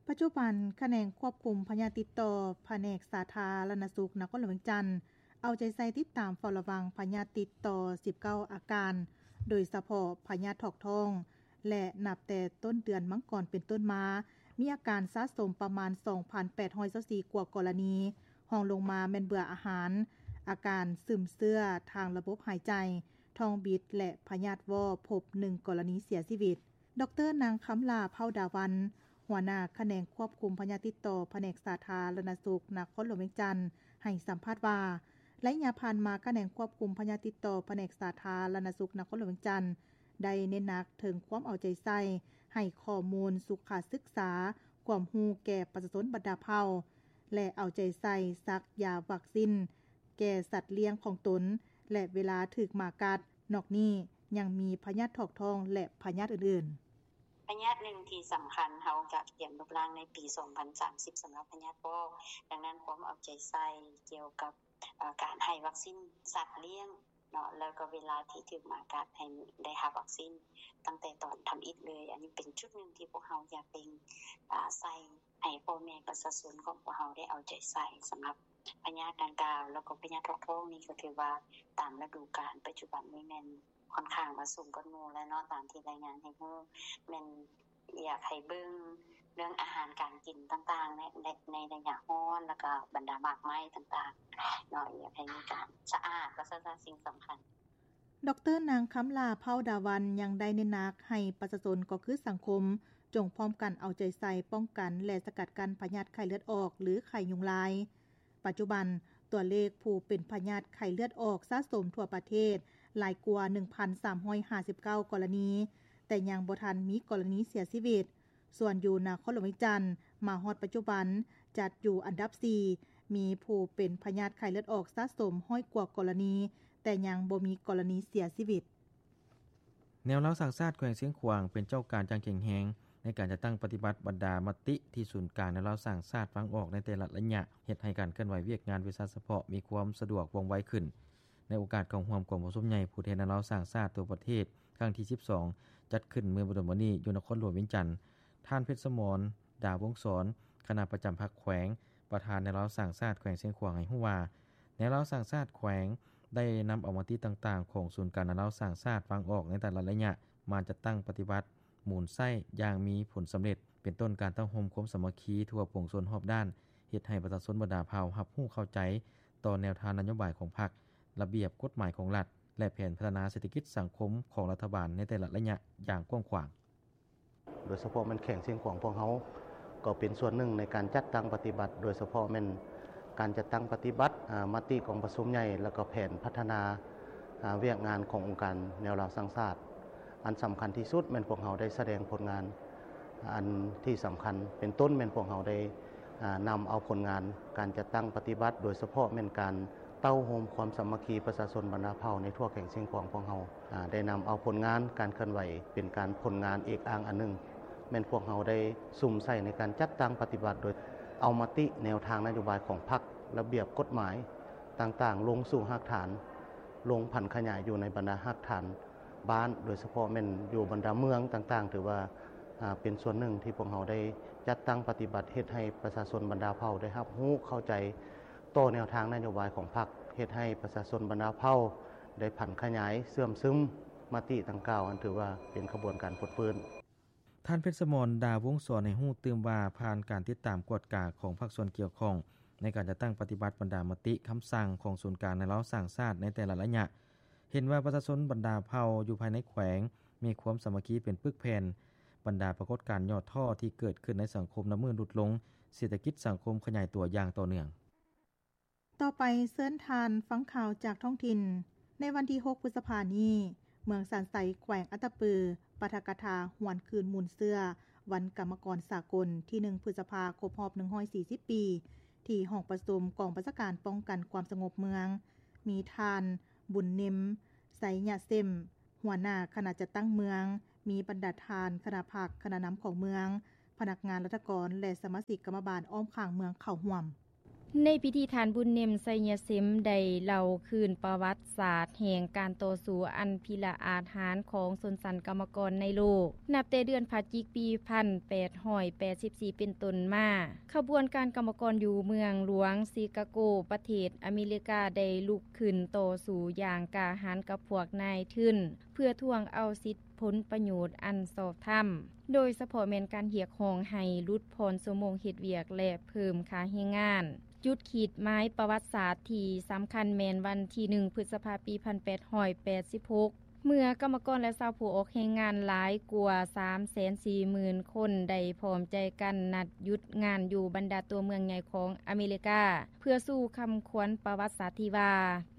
ປັດຈຸບັນ, ຂະແໜງຄວບຄຸມພະຍາດຕິດຕໍ່ ພະແນກສາທາລະນະສຸກນະຄອນຫຼວງວຽງຈັນ ເອົາໃຈໃສ່ຕິດຕາມເຝົ້າລະວັງພະຍາດຕິດຕໍ່ສິບເກົ້າອາການ, ໂດຍສະເພາະພະຍາດຖອກທ້ອງ ແລະ ນັບແຕ່ຕົ້ນເດືອນມັງກອນເປັນຕົ້ນມາ, ມີອາການສະສົມປະມານສອງພັນແປດຮ້ອຍຊາວສີ່ກວ່າກໍລະນີ, ຮອງລົງມາແມ່ນເບື່ອອາຫານ, ອາການຊຶມເຊື້ອທາງລະບົບຫາຍໃຈ, ທ້ອງບິດ ແລະ ພະຍາດວໍ້ ພົບໜຶ່ງກໍລະນີເສຍຊີວິດ. ດອກເຕີ ນາງ ຄຳຫຼ້າ ເຜົ່າດາວັນ ຫົວໜ້າຂະແໜງຄວບຄຸມພະຍາດຕິດຕໍ່ ພະແນກສາທາລະນະສຸກນະຄອນຫຼວງວຽງຈັນ ໃຫ້ສຳພາດວ່າ, ໄລຍະຜ່ານມາ ຂະແໜງຄວບຄຸມພະຍາດຕິດຕໍ່ ພະແນກສາທາລະນະສຸກນະຄອນຫຼວງວຽງຈັນ ໄດ້ເນັ້ນໜັກເຖິງຄວາມເອົາໃຈໃສ່ໃຫ້ຂໍ້ມູນສຸຂະສຶກສາ, ຄວາມຮູ້ແກ່ປະຊາຊົນບັນດາເຜົ່າ ແລະ ເອົາໃຈໃສ່ສັກຢາວັກຊີນແກ່ສັດລ້ຽງຂອງຕົນ ແລະ ເວລາຖືກໝາກັດ. ນອກນີ້ຍັງມີພະຍາດຖອກທ້ອງ ແລະ ພະຍາດອື່ນໆ. ພະຍາດໜຶ່ງທີ່ສຳຄັນ ເຮົາກະກຽມລົບລ້າງໃນປີສອງພັນສາມສິບ ສຳລັບພະຍາດວໍ້. ດັ່ງນັ້ນ ຄວາມເອົາໃຈໃສ່ກ່ຽວກັບ ເອີ ການໃຫ້ວັກຊີນສັດລ້ຽງເນາະ ແລ້ວກໍເວລາທີ່ຖືກໝາກັດ ໃຫ້ໄດ້ຮັບວັກຊີນຕັ້ງແຕ່ຕອນທຳອິດເລີຍ. ອັນນີ້ເປັນຈຸດໜຶ່ງທີ່ພວກເຮົາຢາກເລັ່ງ ອາ ໃສ່ໃຫ້ພໍ່ແມ່ປະຊາຊົນຂອງພວກເຮົາໄດ້ເອົາໃຈໃສ່ສຳລັບພະຍາດດັ່ງກ່າວ. ແລ້ວກໍພະຍາດຖອກທ້ອງນີ້ກໍຖືວ່າຕາມລະດູການປັດຈຸບັນນີ້ແມ່ນ ຂ້ອນຂ້າງວ່າສູງກວ່າໝູ່ແລ້ວເນາະ ຕາມທີ່ລາຍງານໃຫ້ຮູ້ ແມ່ນຢາກໃຫ້ເບິ່ງເລື່ອງອາຫານການກິນຕ່າງໆ ໃນ ໃນ ໃນໄລຍະຮ້ອນ ແລ້ວກໍບັນດາໝາກໄມ້ຕ່າງໆເນາະ ຢາກໃຫ້ມີການສະອາດ ວ່າຊັ້ນຊະ ສິ່ງສຳຄັນ. ດອກເຕີ ນາງ ຄຳຫຼ້າ ເຜົ່າດາວັນ ຍັງໄດ້ເນັ້ນໜັກໃຫ້ປະຊາຊົນ ກໍຄືສັງຄົມ ຈົ່ງພ້ອມກັນເອົາໃຈໃສ່ປ້ອງກັນ ແລະ ສະກັດກັ້ນພະຍາດໄຂ້ເລືອດອອກ ຫຼື ໄຂ້ຍຸງລາຍ. ປັດຈຸບັນ, ຕົວເລກຜູ້ເປັນພະຍາດໄຂ້ເລືອດອອກສະສົມທົ່ວປະເທດຫຼາຍກວ່າໜຶ່ງພັນສາມຮ້ອຍຫ້າສິບເກົ້າກໍລະນີ, ແຕ່ຍັງບໍ່ທັນມີກໍລະນີເສຍຊີວິດ. ສ່ວນຢູ່ນະຄອນຫຼວງວຽງຈັນ, ມາຮອດປັດຈຸບັນ ຈັດຢູ່ອັນດັບສີ່, ມີຜູ້ເປັນພະຍາດໄຂ້ເລືອດອອກສະສົມຮ້ອຍກວ່າກໍລະນີ, ແຕ່ຍັງບໍ່ມີກໍລະນີເສຍຊີວິດ. ແນວລາວສ້າງຊາດແຂວງຊຽງຂວາງ ເປັນເຈົ້າການຢ່າງເຄັ່ງແຮງ ໃນການຈັດຕັ້ງປະຕິບັດບັນດາມະຕິທີ່ສູນກາງແນວລາວສ້າງຊາດວາງອອກໃນແຕ່ລະໄລຍະ, ເຮັດໃຫ້ການເຄື່ອນໄຫວວຽກງານວິຊາສະເພາະມີຄວາມສະດວກວ່ອງໄວຂຶ້ນ. ໃນໂອກາດເຂົ້າຮ່ວມກອງປະຊຸມໃຫຍ່ຜູ້ແທນແນວລາວສ້າງຊາດທົ່ວປະເທດຄັ້ງທີສິບສອງ ຈັດຂຶ້ນເມື່ອບໍ່ດົນມານີ້ຢູ່ນະຄອນຫຼວງວຽງຈັນ, ທ່ານ ເພັດສະໝອນ ດາວົງສອນ ຄະນະປະຈຳພັກແຂວງ ປະທານແນວລາວສ້າງຊາດແຂວງຊຽງຂວາງໃຫ້ຮູ້ວ່າ, ແນວລາວສ້າງຊາດແຂວງໄດ້ນຳເອົາມະຕິຕ່າງໆຂອງສູນກາງແນວລາວສ້າງຊາດວາງອອກໃນແຕ່ລະໄລຍະ ມາຈັດຕັ້ງປະຕິບັດ, ໝູນໃຊ້ຢ່າງມີຜົນສຳເລັດ, ເປັນຕົ້ນການເຕົ້າໂຮມຄວາມສາມັກຄີທົ່ວປວງຊົນຮອບດ້ານ, ເຮັດໃຫ້ປະຊາຊົນບັນດາເຜົ່າຮັບຮູ້ເຂົ້າໃຈຕໍ່ແນວທາງນະໂຍບາຍຂອງພັກ, ລະບຽບກົດໝາຍຂອງລັດ ແລະ ແຜນພັດທະນາເສດຖະກິດສັງຄົມຂອງລັດຖະບານໃນແຕ່ລະໄລຍະຢ່າງກວ້າງຂວາງ. ໂດຍສະເພາະແມ່ນແຂວງຊຽງຂວາງພວກເຮົາ ກໍເປັນສ່ວນໜຶ່ງໃນການຈັດຕັ້ງປະຕິບັດ, ໂດຍສະເພາະແມ່ນການຈັດຕັ້ງປະຕິບັດ ອາ ມະຕິກອງປະຊຸມໃຫຍ່ ແລ້ວກໍແຜນພັດທະນາ ອາ ວຽກງານຂອງອົງການແນວລາວສ້າງຊາດ. ອັນສຳຄັນທີ່ສຸດແມ່ນພວກເຮົາໄດ້ສະແດງຜົນງານ ອັນທີ່ສຳຄັນເປັນຕົ້ນແມ່ນພວກເຮົາໄດ້ ອາ ນຳເອົາຜົນງານການຈັດຕັ້ງປະຕິບັດ, ໂດຍສະເພາະແມ່ນການເຕົ້າໂຮມຄວາມສາມັກຄີປະຊາຊົນບັນດາເຜົ່າໃນທົ່ວແຂວງຊຽງຂວາງພວກເຮົາ ອາ ໄດ້ນຳເອົາຜົນງານການເຄື່ອນໄຫວເປັນການຜົນງານເອກອ້າງອັນໜຶ່ງ, ແມ່ນພວກເຮົາໄດ້ສຸມໃສ່ໃນການຈັດຕັ້ງປະຕິບັດ ໂດຍເອົາມະຕິແນວທາງນະໂຍບາຍຂອງພັກ, ລະບຽບກົດໝາຍຕ່າງໆ ລົງສູ່ຮາກຖານ, ລົງຜັນຂະຫຍາຍຢູ່ໃນບັນດາຮາກຖານບ້ານ, ໂດຍສະເພາະແມ່ນຢູ່ບັນດາເມືອງຕ່າງໆ, ຖືວ່າ ອາ ເປັນສ່ວນໜຶ່ງທີ່ພວກເຮົາໄດ້ຈັດຕັ້ງປະຕິບັດ, ເຮັດໃຫ້ປະຊາຊົນບັນດາເຜົ່າໄດ້ຮັບຮູ້ເຂົ້າໃຈ ຕໍ່ແນວທາງນະໂຍບາຍຂອງພັກ, ເຮັດໃຫ້ປະຊາຊົນບັນດາເຜົ່າໄດ້ຜັນຂະຫຍາຍເຊື່ອມຊຶມມະຕິດັ່ງກ່າວ, ອັນຖືວ່າເປັນຂະບວນການຟົດຟື້ນ. ທ່ານ ເພັດສະໝອນ ດາວົງສອນ ໃຫ້ຮູ້ຕື່ມວ່າ, ຜ່ານການຕິດຕາມກວດກາຂອງພາກສ່ວນກ່ຽວຂ້ອງ ໃນການຈັດຕັ້ງປະຕິບັດບັນດາມະຕິຄຳສັ່ງຂອງສູນກາງແນວລາວສ້າງຊາດໃນແຕ່ລະໄລຍະ, ເຫັນວ່າປະຊາຊົນບັນດາເຜົ່າຢູ່ພາຍໃນແຂວງມີຄວາມສາມັກຄີເປັນປຶກແຜ່ນ, ບັນດາປາກົດການຫຍໍ້ທໍ້ທີ່ເກີດຂຶ້ນໃນສັງຄົມນັບມື້ຫຼຸດລົງ, ເສດຖະກິດສັງຄົມຂະຫຍາຍຕົວຢ່າງຕໍ່ເນື່ອງ. ຕໍ່ໄປເຊີນທ່ານຟັງຂ່າວຈາກທ້ອງຖິ່ນ. ໃນວັນທີຫົກ ພຶດສະພານີ້, ເມືອງຊານໄຊ ແຂວງອັດຕະປື ປາຖະກະຖາຫວນຄືນມູນເຊື້ອ ວັນກຳມະກອນສາກົນ ທີໜຶ່ງ ພຶດສະພາ ຄົບຮອບ ໜຶ່ງຮ້ອຍສີ່ສິບປີ ທີ່ຫ້ອງປະຊຸມກອງບັນຊາການປ້ອງກັນຄວາມສະຫງົບເມືອງ, ມີທ່ານ ບຸນນິມ ໄຊຍະເຊມ ຫົວໜ້າຄະນະຈັດຕັ້ງເມືອງ, ມີບັນດາທ່ານຄະນະພັກ, ຄະນະນຳຂອງເມືອງ, ພະນັກງານລັດຖະກອນ ແລະ ສະມາຊິກກຳມະບານອ້ອມຂ້າງເມືອງເຂົ້າຮ່ວມ. ໃນພິທີ ທ່ານ ບຸນນິມ ໄຊຍະເຊມ ໄດ້ເລົ່າຄືນປະຫວັດສາດແຫ່ງການຕໍ່ສູ້ອັນພິລະອາດຫານຂອງຊົນຊັ້ນກຳມະກອນໃນໂລກ, ນັບແຕ່ເດືອນພະຈິກ ປີພັນແປດຮ້ອຍແປດສິບສີ່ ເປັນຕົ້ນມາ, ຂະບວນການກຳມະກອນຢູ່ເມືອງຫຼວງຊິກາໂກ ປະເທດອາເມລິກາ ໄດ້ລຸກຂຶ້ນຕໍ່ສູ້ຢ່າງກ້າຫານກັບພວກນາຍທຶນ ເພື່ອທວງເອົາສິດຜົນປະໂຫຍດອັນຊອບທຳ, ໂດຍສະເພາະແມ່ນການຮຽກຮ້ອງໃຫ້ຫຼຸດຜ່ອນຊົ່ວໂມງເຮັດວຽກ ແລະ ເພີ່ມຄ່າແຮງງານ. ຈຸດຂີດໝາຍປະຫວັດສາດທີ່ສຳຄັນແມ່ນວັນທີໜຶ່ງ ພຶດສະພາ ປີພັນແປດຮ້ອຍແປດສິບຫົກ ເມື່ອກຳມະກອນ ແລະ ຊາວຜູ້ອອກແຮງງານຫຼາຍກວ່າສາມແສນສີ່ໝື່ນຄົນ ໄດ້ພ້ອມໃຈກັນນັດຢຸດງານຢູ່ບັນດາຕົວເມືອງໃຫຍ່ຂອງອາເມລິກາ ເພື່ອສູ່ຄຳຂວັນປະຫວັດສາດທີ່ວ່າ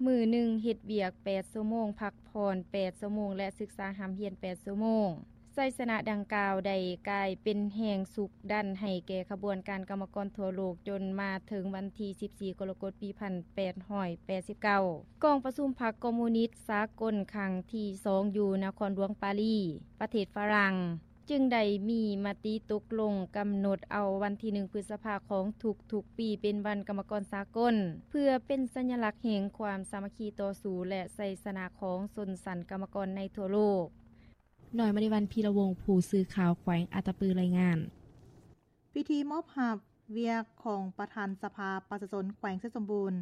ມື້ໜຶ່ງເຮັດວຽກແປດຊົ່ວໂມງ, ພັກຜ່ອນແປດຊົ່ວໂມງ ແລະ ສຶກສາຮ່ຳຮຽນແປດຊົ່ວໂມງ. ໄຊຊະນະດັ່ງກ່າວໄດ້ກາຍເປັນແຮງຊຸກດັນໃຫ້ແກ່ຂະບວນການກຳມະກອນທົ່ວໂລກ ຈົນມາເຖິງວັນທີສິບສີ່ ກໍລະກົດ ປີພັນແປດຮ້ອຍແປດສິບເກົ້າ ກອງປະຊຸມພັກຄອມມູນິດສາກົນຄັ້ງທີສອງ ຢູ່ນະຄອນຫຼວງປາຣີ ປະເທດຝຣັ່ງ ຈຶ່ງໄດ້ມີມະຕິຕົກລົງກຳນົດເອົາວັນທີໜຶ່ງ ພຶດສະພາ ຂອງທຸກໆປີ ເປັນວັນກຳມະກອນສາກົນ ເພື່ອເປັນສັນຍະລັກແຫ່ງຄວາມສາມັກຄີຕໍ່ສູ້ ແລະ ໄຊຊະນະຂອງຊົນຊັ້ນກຳມະກອນໃນທົ່ວໂລກ. ນ້ອຍມະນີວັນ ພີລະວົງ ຜູ້ສື່ຂ່າວແຂວງອັດຕະປື ລາຍງານ. ພິທີມອບຮັບວຽກຂອງປະທານສະພາປະຊາຊົນແຂວງໄຊສົມບູນ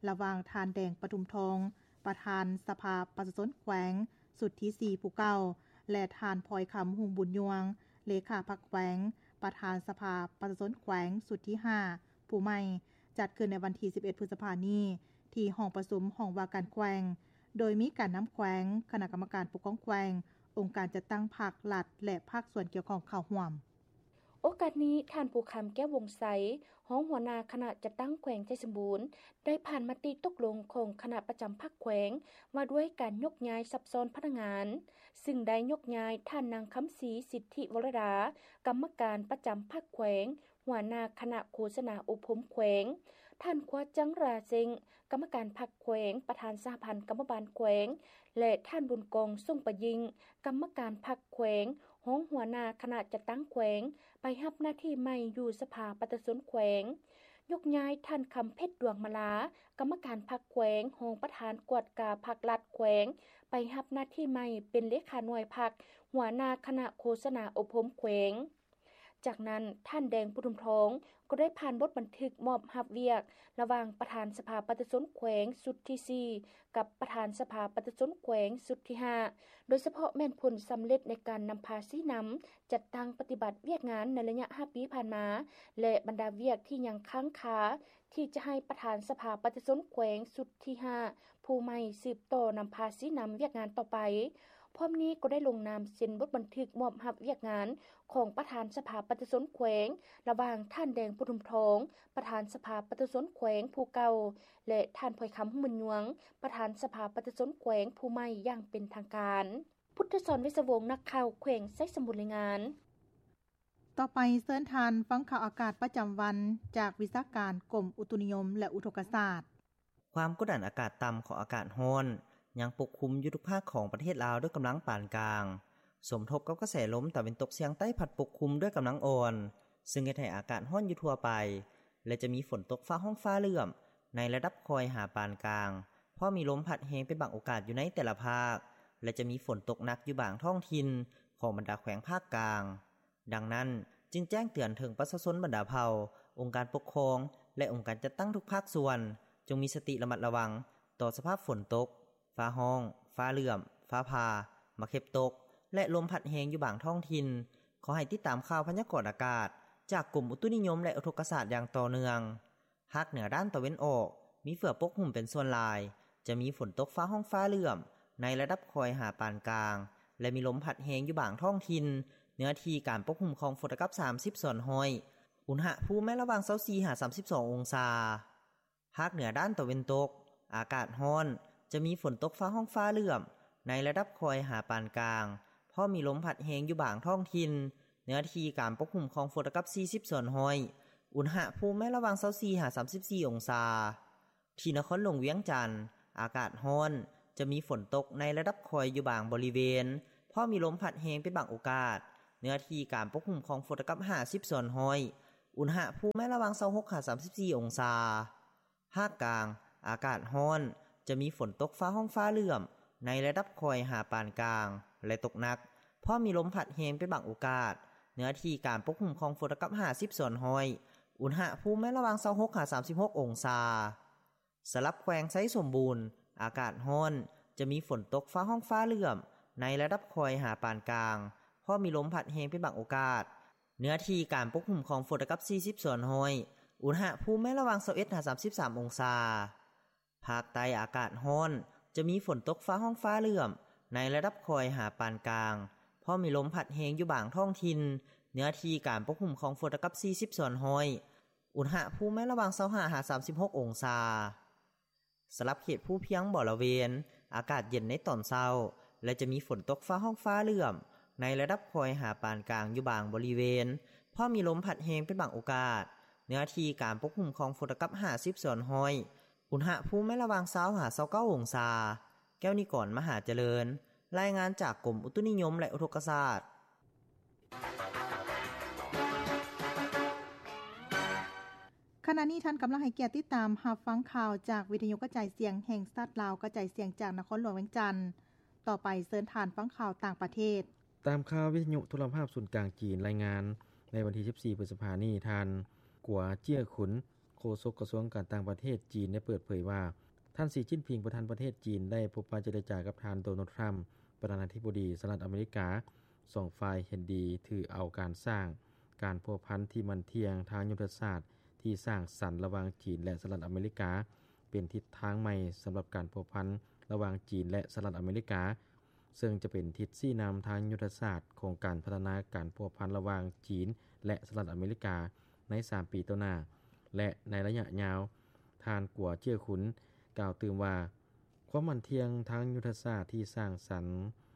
ລະຫວ່າງທ່ານ ແດງ ປະທຸມທອງ ປະທານສະພາປະຊາຊົນແຂວງຊຸດທີສີ່ຜູ້ເກົ່າ ແລະ ທ່ານ ພອຍຄຳ ຮຸ່ງບຸນຍວງ ເລຂາພັກແຂວງ ປະທານສະພາປະຊາຊົນແຂວງຊຸດທີຫ້າຜູ້ໃໝ່ ຈັດຂຶ້ນໃນວັນທີສິບເອັດ ພຶດສະພານີ້ ທີ່ຫ້ອງປະຊຸມຫ້ອງວ່າການແຂວງ ໂດຍມີການນຳແຂວງ, ຄະນະກຳມະການປົກຄອງແຂວງ, ອົງການຈັດຕັ້ງພາກລັດ ແລະ ພາກສ່ວນກ່ຽວຂ້ອງເຂົ້າຮ່ວມ. ໂອກາດນີ້, ທ່ານ ພູຄຳ ແກ້ວວົງໄຊ ຮອງຫົວໜ້າຄະນະຈັດຕັ້ງແຂວງໄຊສົມບູນ ໄດ້ຜ່ານມະຕິຕົກລົງຂອງຄະນະປະຈຳພັກແຂວງ ວ່າດ້ວຍການຍົກຍ້າຍສັບຊ້ອນພະນັກງານ, ຊຶ່ງໄດ້ຍົກຍ້າຍທ່ານ ນາງ ຄຳສີ ສິດທິວໍລະດາ ກຳມະການປະຈຳພັກແຂວງ, ຫົວໜ້າຄະນະໂຄສະນາອົບຮົມແຂວງ, ທ່ານ ຄວາຈັງ ຣາເຊັງ ກຳມະການພັກແຂວງ, ປະທານສະຫະພັນກຳມະບານແຂວງ ແລະ ທ່ານ ບຸນກອງ ສົງປະຍິງ ກຳມະການພັກແຂວງ, ຮອງຫົວໜ້າຄະນະຈັດຕັ້ງແຂວງ ໄປຮັບໜ້າທີ່ໃໝ່ຢູ່ສະພາປະຊາຊົນແຂວງ. ຍົກຍ້າຍທ່ານ ຄຳເພັດ ດວງມາລາ ກຳມະການພັກແຂວງ, ຮອງປະທານກວດກາພັກລັດແຂວງ ໄປຮັບໜ້າທີ່ໃໝ່ເປັນເລຂາໜ່ວຍພັກ, ຫົວໜ້າຄະນະໂຄສະນາອົບຮົມແຂວງ. ຈາກນັ້ນ, ທ່ານ ແດງ ປະທຸມທອງ ກໍໄດ້ຜ່ານບົດບັນທຶກມອບຮັບວຽກລະຫວ່າງປະທານສະພາປະຊາຊົນແຂວງຊຸດທີສີ່ ກັບປະທານສະພາປະຊາຊົນແຂວງຊຸດທີຫ້າ ໂດຍສະເພາະແມ່ນຜົນສຳເລັດໃນການນຳພາຊີ້ນຳຈັດຕັ້ງປະຕິບັດວຽກງານໃນໄລຍະຫ້າປີຜ່ານມາ ແລະ ບັນດາວຽກທີ່ຍັງຄ້າງຄາ ທີ່ຈະໃຫ້ປະທານສະພາປະຊາຊົນແຂວງຊຸດທີຫ້າຜູ້ໃໝ່ສືບຕໍ່ນຳພາຊີ້ນຳວຽກງານຕໍ່ໄປ. ພ້ອມນີ້ກໍໄດ້ລົງນາມເຊັນບົດບັນທຶກມອບຮັບວຽກງານຂອງປະທານສະພາປະຊາຊົນແຂວງ ລະຫວ່າງທ່ານ ແດງ ປະທຸມທອງ ປະທານສະພາປະຊາຊົນແຂວງຜູ້ເກົ່າ ແລະ ທ່ານ ພອຍຄຳ ຮຸ່ງບຸນຍວງ ປະທານສະພາປະຊາຊົນແຂວງຜູ້ໃໝ່ຢ່າງເປັນທາງການ. ພຸດທະສອນ ເວດສະວົງ ນັກຂ່າວແຂວງໄຊສົມບູນ ລາຍງານ. ຕໍ່ໄປເຊີນທ່ານຟັງຂ່າວອາກາດປະຈຳວັນ ຈາກວິຊາການກົມອຸຕຸນິຍົມ ແລະ ອຸທົກກະສາດ. ຄວາມກົດດັນອາກາດຕ່ຳຂອງອາກາດຮ້ອນ ຍັງປົກຄຸມຢູ່ທຸກພາກຂອງປະເທດລາວດ້ວຍກຳລັງປານກາງ, ສົມທົບກັບກະແສລົມຕາເວັນຕົກສຽງໃຕ້ພັດປົກຄຸມດ້ວຍກຳລັງອ່ອນ, ຊຶ່ງເຮັດໃຫ້ອາກາດຮ້ອນຢູ່ທົ່ວໄປ ແລະ ຈະມີຝົນຕົກຟ້າຮ້ອງຟ້າເຫຼື້ອມໃນລະດັບຄ່ອຍຫາປານກາງ, ເພາະມີລົມພັດແຮງເປັນບາງໂອກາດຢູ່ໃນແຕ່ລະພາກ ແລະ ຈະມີຝົນຕົກໜັກຢູ່ບາງທ້ອງຖິ່ນຂອງບັນດາແຂວງພາກກາງ. ດັ່ງນັ້ນ, ຈຶ່ງແຈ້ງເຕືອນເຖິງປະຊາຊົນບັນດາເຜົ່າ, ອົງການປົກຄອງ ແລະ ອົງການຈັດຕັ້ງທຸກພາກສ່ວນ ຈົ່ງມີສະຕິລະມັດລະວັງຕໍ່ສະພາບຝົນຕົກ, ຟ້າຮ້ອງ, ຟ້າເຫຼື້ອມ, ຟ້າຜ່າ, ໝາກເຫັບຕົກ ແລະ ລົມພັດແຮງຢູ່ບາງທ້ອງຖິ່ນ. ຂໍໃຫ້ຕິດຕາມຂ່າວພະຍາກອນອາກາດຈາກກົມອຸຕຸນິຍົມ ແລະ ອຸທົກກະສາດຢ່າງຕໍ່ເນື່ອງ. ພາກເໜືອດ້ານຕາເວັນອອກ ມີເຝືອປົກຫຸ້ມເປັນສ່ວນຫຼາຍ, ຈະມີຝົນຕົກຟ້າຮ້ອງຟ້າເຫຼື້ອມໃນລະດັບຄ່ອຍຫາປານກາງ ແລະ ມີລົມພັດແຮງຢູ່ບາງທ້ອງຖິ່ນ, ເນື້ອທີ່ການປົກຫຸ້ມຂອງຝົນລະດັບສາມສິບສ່ວນຮ້ອຍ, ອຸນຫະພູມແມ່ນລະຫວ່າງຊາວສີ່ຫາສາມສິບສອງອົງສາ. ພາກເໜືອດ້ານຕາເວັນຕົກ ອາກາດຮ້ອນ, ຈະມີຝົນຕົກຟ້າຮ້ອງຟ້າເຫຼື້ອມ ໃນລະດັບຄ່ອຍຫາປານກາງ, ພ້ອມມີລົມພັດແຮງຢູ່ບາງທ້ອງຖິ່ນ. ເນື້ອທີ່ການປົກຄຸມຂອງຝົນລະກັບສີ່ສິບສ່ວນຮ້ອຍ, ອຸນຫະພູມແມ່ນລະຫວ່າງຊາວສີ່ຫາສາມສິບສີ່ອົງສາ. ທີ່ນະຄອນຫຼວງວຽງຈັນ, ອາກາດຮ້ອນ, ຈະມີຝົນຕົກໃນລະດັບຄ່ອຍຢູ່ບາງບໍລິເວນ, ພ້ອມມີລົມພັດແຮງເປັນບາງໂອກາດ. ເນື້ອທີ່ການປົກຄຸມຂອງຝົນລະກັບຫ້າສິບສ່ວນຮ້ອຍ, ອຸນຫະພູມແມ່ນລະຫວ່າງຊາວຫົກຫາສາມສິບສີ່ອົງສາ. ພາກກາງ, ອາກາດຮ້ອນ, ຈະມີຝົນຕົກຟ້າຮ້ອງຟ້າເຫຼື້ອມ ໃນລະດັບຄ່ອຍຫາປານກາງ ແລະ ຕົກໜັກ, ພ້ອມມີລົມພັດແຮງເປັນບາງໂອກາດ. ເນື້ອທີ່ການປົກຄຸມຂອງຝົນລະກັບຫ້າສິບສ່ວນຮ້ອຍ, ອຸນຫະພູມແມ່ນລະຫວ່າງຊາວຫົກຫາສາມສິບຫົກອົງສາ. ສຳລັບແຂວງໄຊສົມບູນ, ອາກາດຮ້ອນ, ຈະມີຝົນຕົກຟ້າຮ້ອງຟ້າເຫຼື້ອມ ໃນລະດັບຄ່ອຍຫາປານກາງ, ພ້ອມມີລົມພັດແຮງເປັນບາງໂອກາດ. ເນື້ອທີ່ການປົກຄຸມຂອງຝົນລະກັບສີ່ສິບສ່ວນຮ້ອຍ, ອຸນຫະພູມແມ່ນລະຫວ່າງຊາວເອັດຫາສາມສິບສາມອົງສາ. ພາກໃຕ້ອາກາດຮ້ອນ, ຈະມີຝົນຕົກຟ້າຮ້ອງຟ້າເຫຼື້ອມ ໃນລະດັບຄ່ອຍຫາປານກາງ, ພ້ອມມີລົມພັດແຮງຢູ່ບາງທ້ອງຖິ່ນ. ເນື້ອທີ່ການປົກຄຸມຂອງຝົນລະກັບສີ່ສິບສ່ວນຮ້ອຍ, ອຸນຫະພູມແມ່ນລະຫວ່າງຊາວຫ້າຫາສາມສິບຫົກອົງສາ. ສຳລັບເຂດພູພຽງບໍລະເວນ, ອາກາດເຢັນໃນຕອນເຊົ້າ ແລະ ຈະມີຝົນຕົກຟ້າຮ້ອງຟ້າເຫຼື້ອມ ໃນລະດັບຄ່ອຍຫາປານກາງຢູ່ບາງບໍລິເວນ, ພ້ອມມີລົມພັດແຮງເປັນບາງໂອກາດ. ເນື້ອທີ່ການປົກຄຸມຂອງຝົນລະກັບຫ້າສິບສ່ວນຮ້ອຍ, ອຸນຫະພູມແມ່ນລະຫວ່າງຊາວຫາຊາວເກົ້າອົງສາ. ແກ້ວນິກອນ ມະຫາຈະເລີນ, ລາຍງານຈາກກົມອຸຕຸນິຍົມ ແລະ ອຸທົກກະສາດ. ຂະນະນີ້ທ່ານກຳລັງໃຫ້ກຽດຕິດຕາມຮັບຟັງຂ່າວຈາກວິທະຍຸກະຈາຍສຽງແຫ່ງຊາດລາວ, ກະຈາຍສຽງຈາກນະຄອນຫຼວງວຽງຈັນ. ຕໍ່ໄປເຊີນທ່ານຟັງຂ່າວຕ່າງປະເທດ. ຕາມຂ່າວວິທະຍຸໂທລະພາບສູນກາງຈີນລາຍງານ, ໃນວັນທີສິບສີ່ ພຶດສະພານີ້, ທ່ານ ກົວ ເຈ້ຍຂຸນ ໂຄສົກກະຊວງການຕ່າງປະເທດຈີນ ໄດ້ເປີດເຜີຍວ່າ ທ່ານ ສີ ຈິ້ນຜິງ ປະທານປະເທດຈີນ ໄດ້ພົບປະເຈລະຈາກັບທ່ານ ໂດນັລ ທຣຳ ປະທານາທິບໍດີສະຫະລັດອາເມລິກາ. ສອງຝ່າຍເຫັນດີຖືເອົາການສ້າງການພົວພັນທີ່ໝັ້ນທ່ຽງທາງຍຸດທະສາດທີ່ສ້າງສັນລະຫວ່າງຈີນ ແລະ ສະຫະລັດອາເມລິກາ ເປັນທິດທາງໃໝ່ສຳລັບການພົວພັນລະຫວ່າງຈີນ ແລະ ສະຫະລັດອາເມລິກາ, ເຊິ່ງຈະເປັນທິດຊີ້ນຳທາງຍຸດທະສາດຂອງການພັດທະນາການພົວພັນລະຫວ່າງຈີນ ແລະ ສະຫະລັດອາເມລິກາໃນສາມປີຕໍ່ໜ້າ ແລະ ໃນໄລຍະຍາວ. ທ່ານ ກົວ ເຈ້ຍຂຸນ ກ່າວຕື່ມວ່າ, ຄວາມໝັ້ນທ່ຽງທາງຍຸດທະສາດທີ່ສ້າງສັນ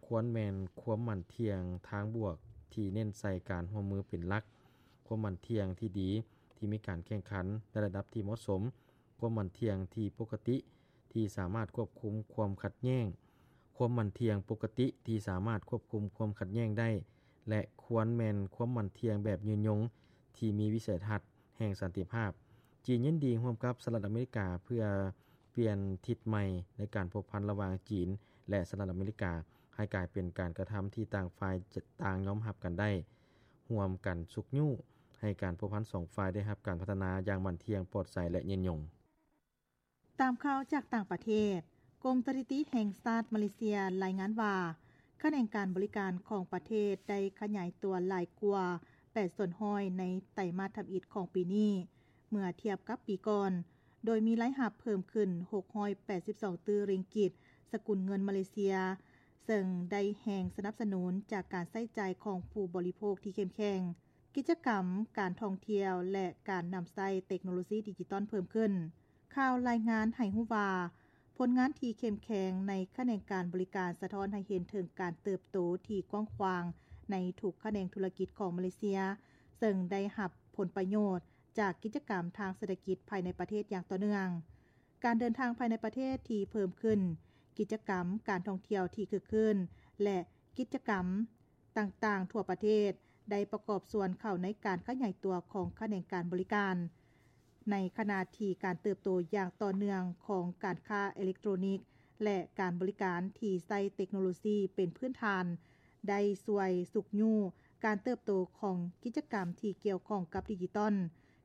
ຄວນແມ່ນຄວາມໝັ້ນທ່ຽງທາງບວກທີ່ເນັ້ນໃສ່ການຮ່ວມມືເປັນຫຼັກ, ຄວາມໝັ້ນທ່ຽງທີ່ດີທີ່ມີການແຂ່ງຂັນໃນລະດັບທີ່ເໝາະສົມ, ຄວາມໝັ້ນທ່ຽງທີ່ປົກກະຕິທີ່ສາມາດຄວບຄຸມຄວາມຂັດແຍ້ງ, ຄວາມໝັ້ນທ່ຽງປົກກະຕິທີ່ສາມາດຄວບຄຸມຄວາມຂັດແຍ້ງໄດ້ ແລະ ຄວນແມ່ນຄວາມໝັ້ນທ່ຽງແບບຍືນຍົງທີ່ມີວິໄສທັດແຫ່ງສັນຕິພາບ. ຈີນຍິນດີຮ່ວມກັບສະຫະລັດອາເມລິກາເພື່ອປ່ຽນທິດໃໝ່ໃນການພົວພັນລະຫວ່າງຈີນ ແລະ ສະຫະລັດອາເມລິກາ ໃຫ້ກາຍເປັນການກະທຳທີ່ຕ່າງຝ່າຍຕ່າງຍອມຮັບກັນໄດ້, ຮ່ວມກັນຊຸກຍູ້ໃຫ້ການພົວພັນສອງຝ່າຍໄດ້ຮັບການພັດທະນາຢ່າງໝັ້ນທ່ຽງ, ປອດໃສ ແລະ ຍືນຍົງ. ຕາມຂ່າວຈາກຕ່າງປະເທດ, ກົມສະຖິຕິແຫ່ງຊາດມາເລເຊຍລາຍງານວ່າ, ຂະແໜງການບໍລິການຂອງປະເທດໄດ້ຂະຫຍາຍຕົວຫຼາຍກວ່າແປດສ່ວນຮ້ອຍໃນໄຕມາດທຳອິດຂອງປີນີ້ ເມື່ອທຽບກັບປີກ່ອນ, ໂດຍມີລາຍຮັບເພີ່ມຂຶ້ນຫົກຮ້ອຍແປດສິບສອງຕື້ຣິງກິດ ສະກຸນເງິນມາເລເຊຍ, ເຊິ່ງໄດ້ແຮງສະໜັບສະໜູນຈາກການໃຊ້ຈ່າຍຂອງຜູ້ບໍລິໂພກທີ່ເຂັ້ມແຂງ. ກິດຈະກຳການທ່ອງທ່ຽວ ແລະ ການນຳໃຊ້ເຕັກໂນໂລຊີດິຈິຕອນເພີ່ມຂຶ້ນ. ຂ່າວລາຍງານໃຫ້ຮູ້ວ່າ, ຜົນງານທີ່ເຂັ້ມແຂງໃນຂະແໜງການບໍລິການສະທ້ອນໃຫ້ເຫັນເຖິງການເຕີບໂຕທີ່ກວ້າງຂວາງໃນທຸກຂະແໜງທຸລະກິດຂອງມາເລເຊຍ, ເຊິ່ງໄດ້ຮັບຜົນປະໂຫຍດຈາກກິດຈະກຳທາງເສດຖະກິດພາຍໃນປະເທດຢ່າງຕໍ່ເນື່ອງ. ການເດີນທາງພາຍໃນປະເທດທີ່ເພີ່ມຂຶ້ນ, ກິດຈະກຳການທ່ອງທ່ຽວທີ່ຄຶກຄື້ນ ແລະ ກິດຈະກຳ ຕ່າງໆທົ່ວປະເທດໄດ້ປະກອບສ່ວນເຂົ້າໃນການຂະຫຍາຍຕົວຂອງຂະແໜງການບໍລິການ. ໃນຂະນະທີ່ການເຕີບໂຕຢ່າງຕໍ່ເນື່ອງຂອງການຄ້າເອເລັກໂຕຣນິກ ແລະ ການບໍລິການທີ່ໃຊ້ເຕັກໂນໂລຊີເປັນພື້ນຖານ ໄດ້ຊ່ວຍຊຸກຍູ້ການເຕີບໂຕຂອງກິດຈະກຳທີ່ກ່ຽວຂ້ອງກັບດິຈິຕອນ,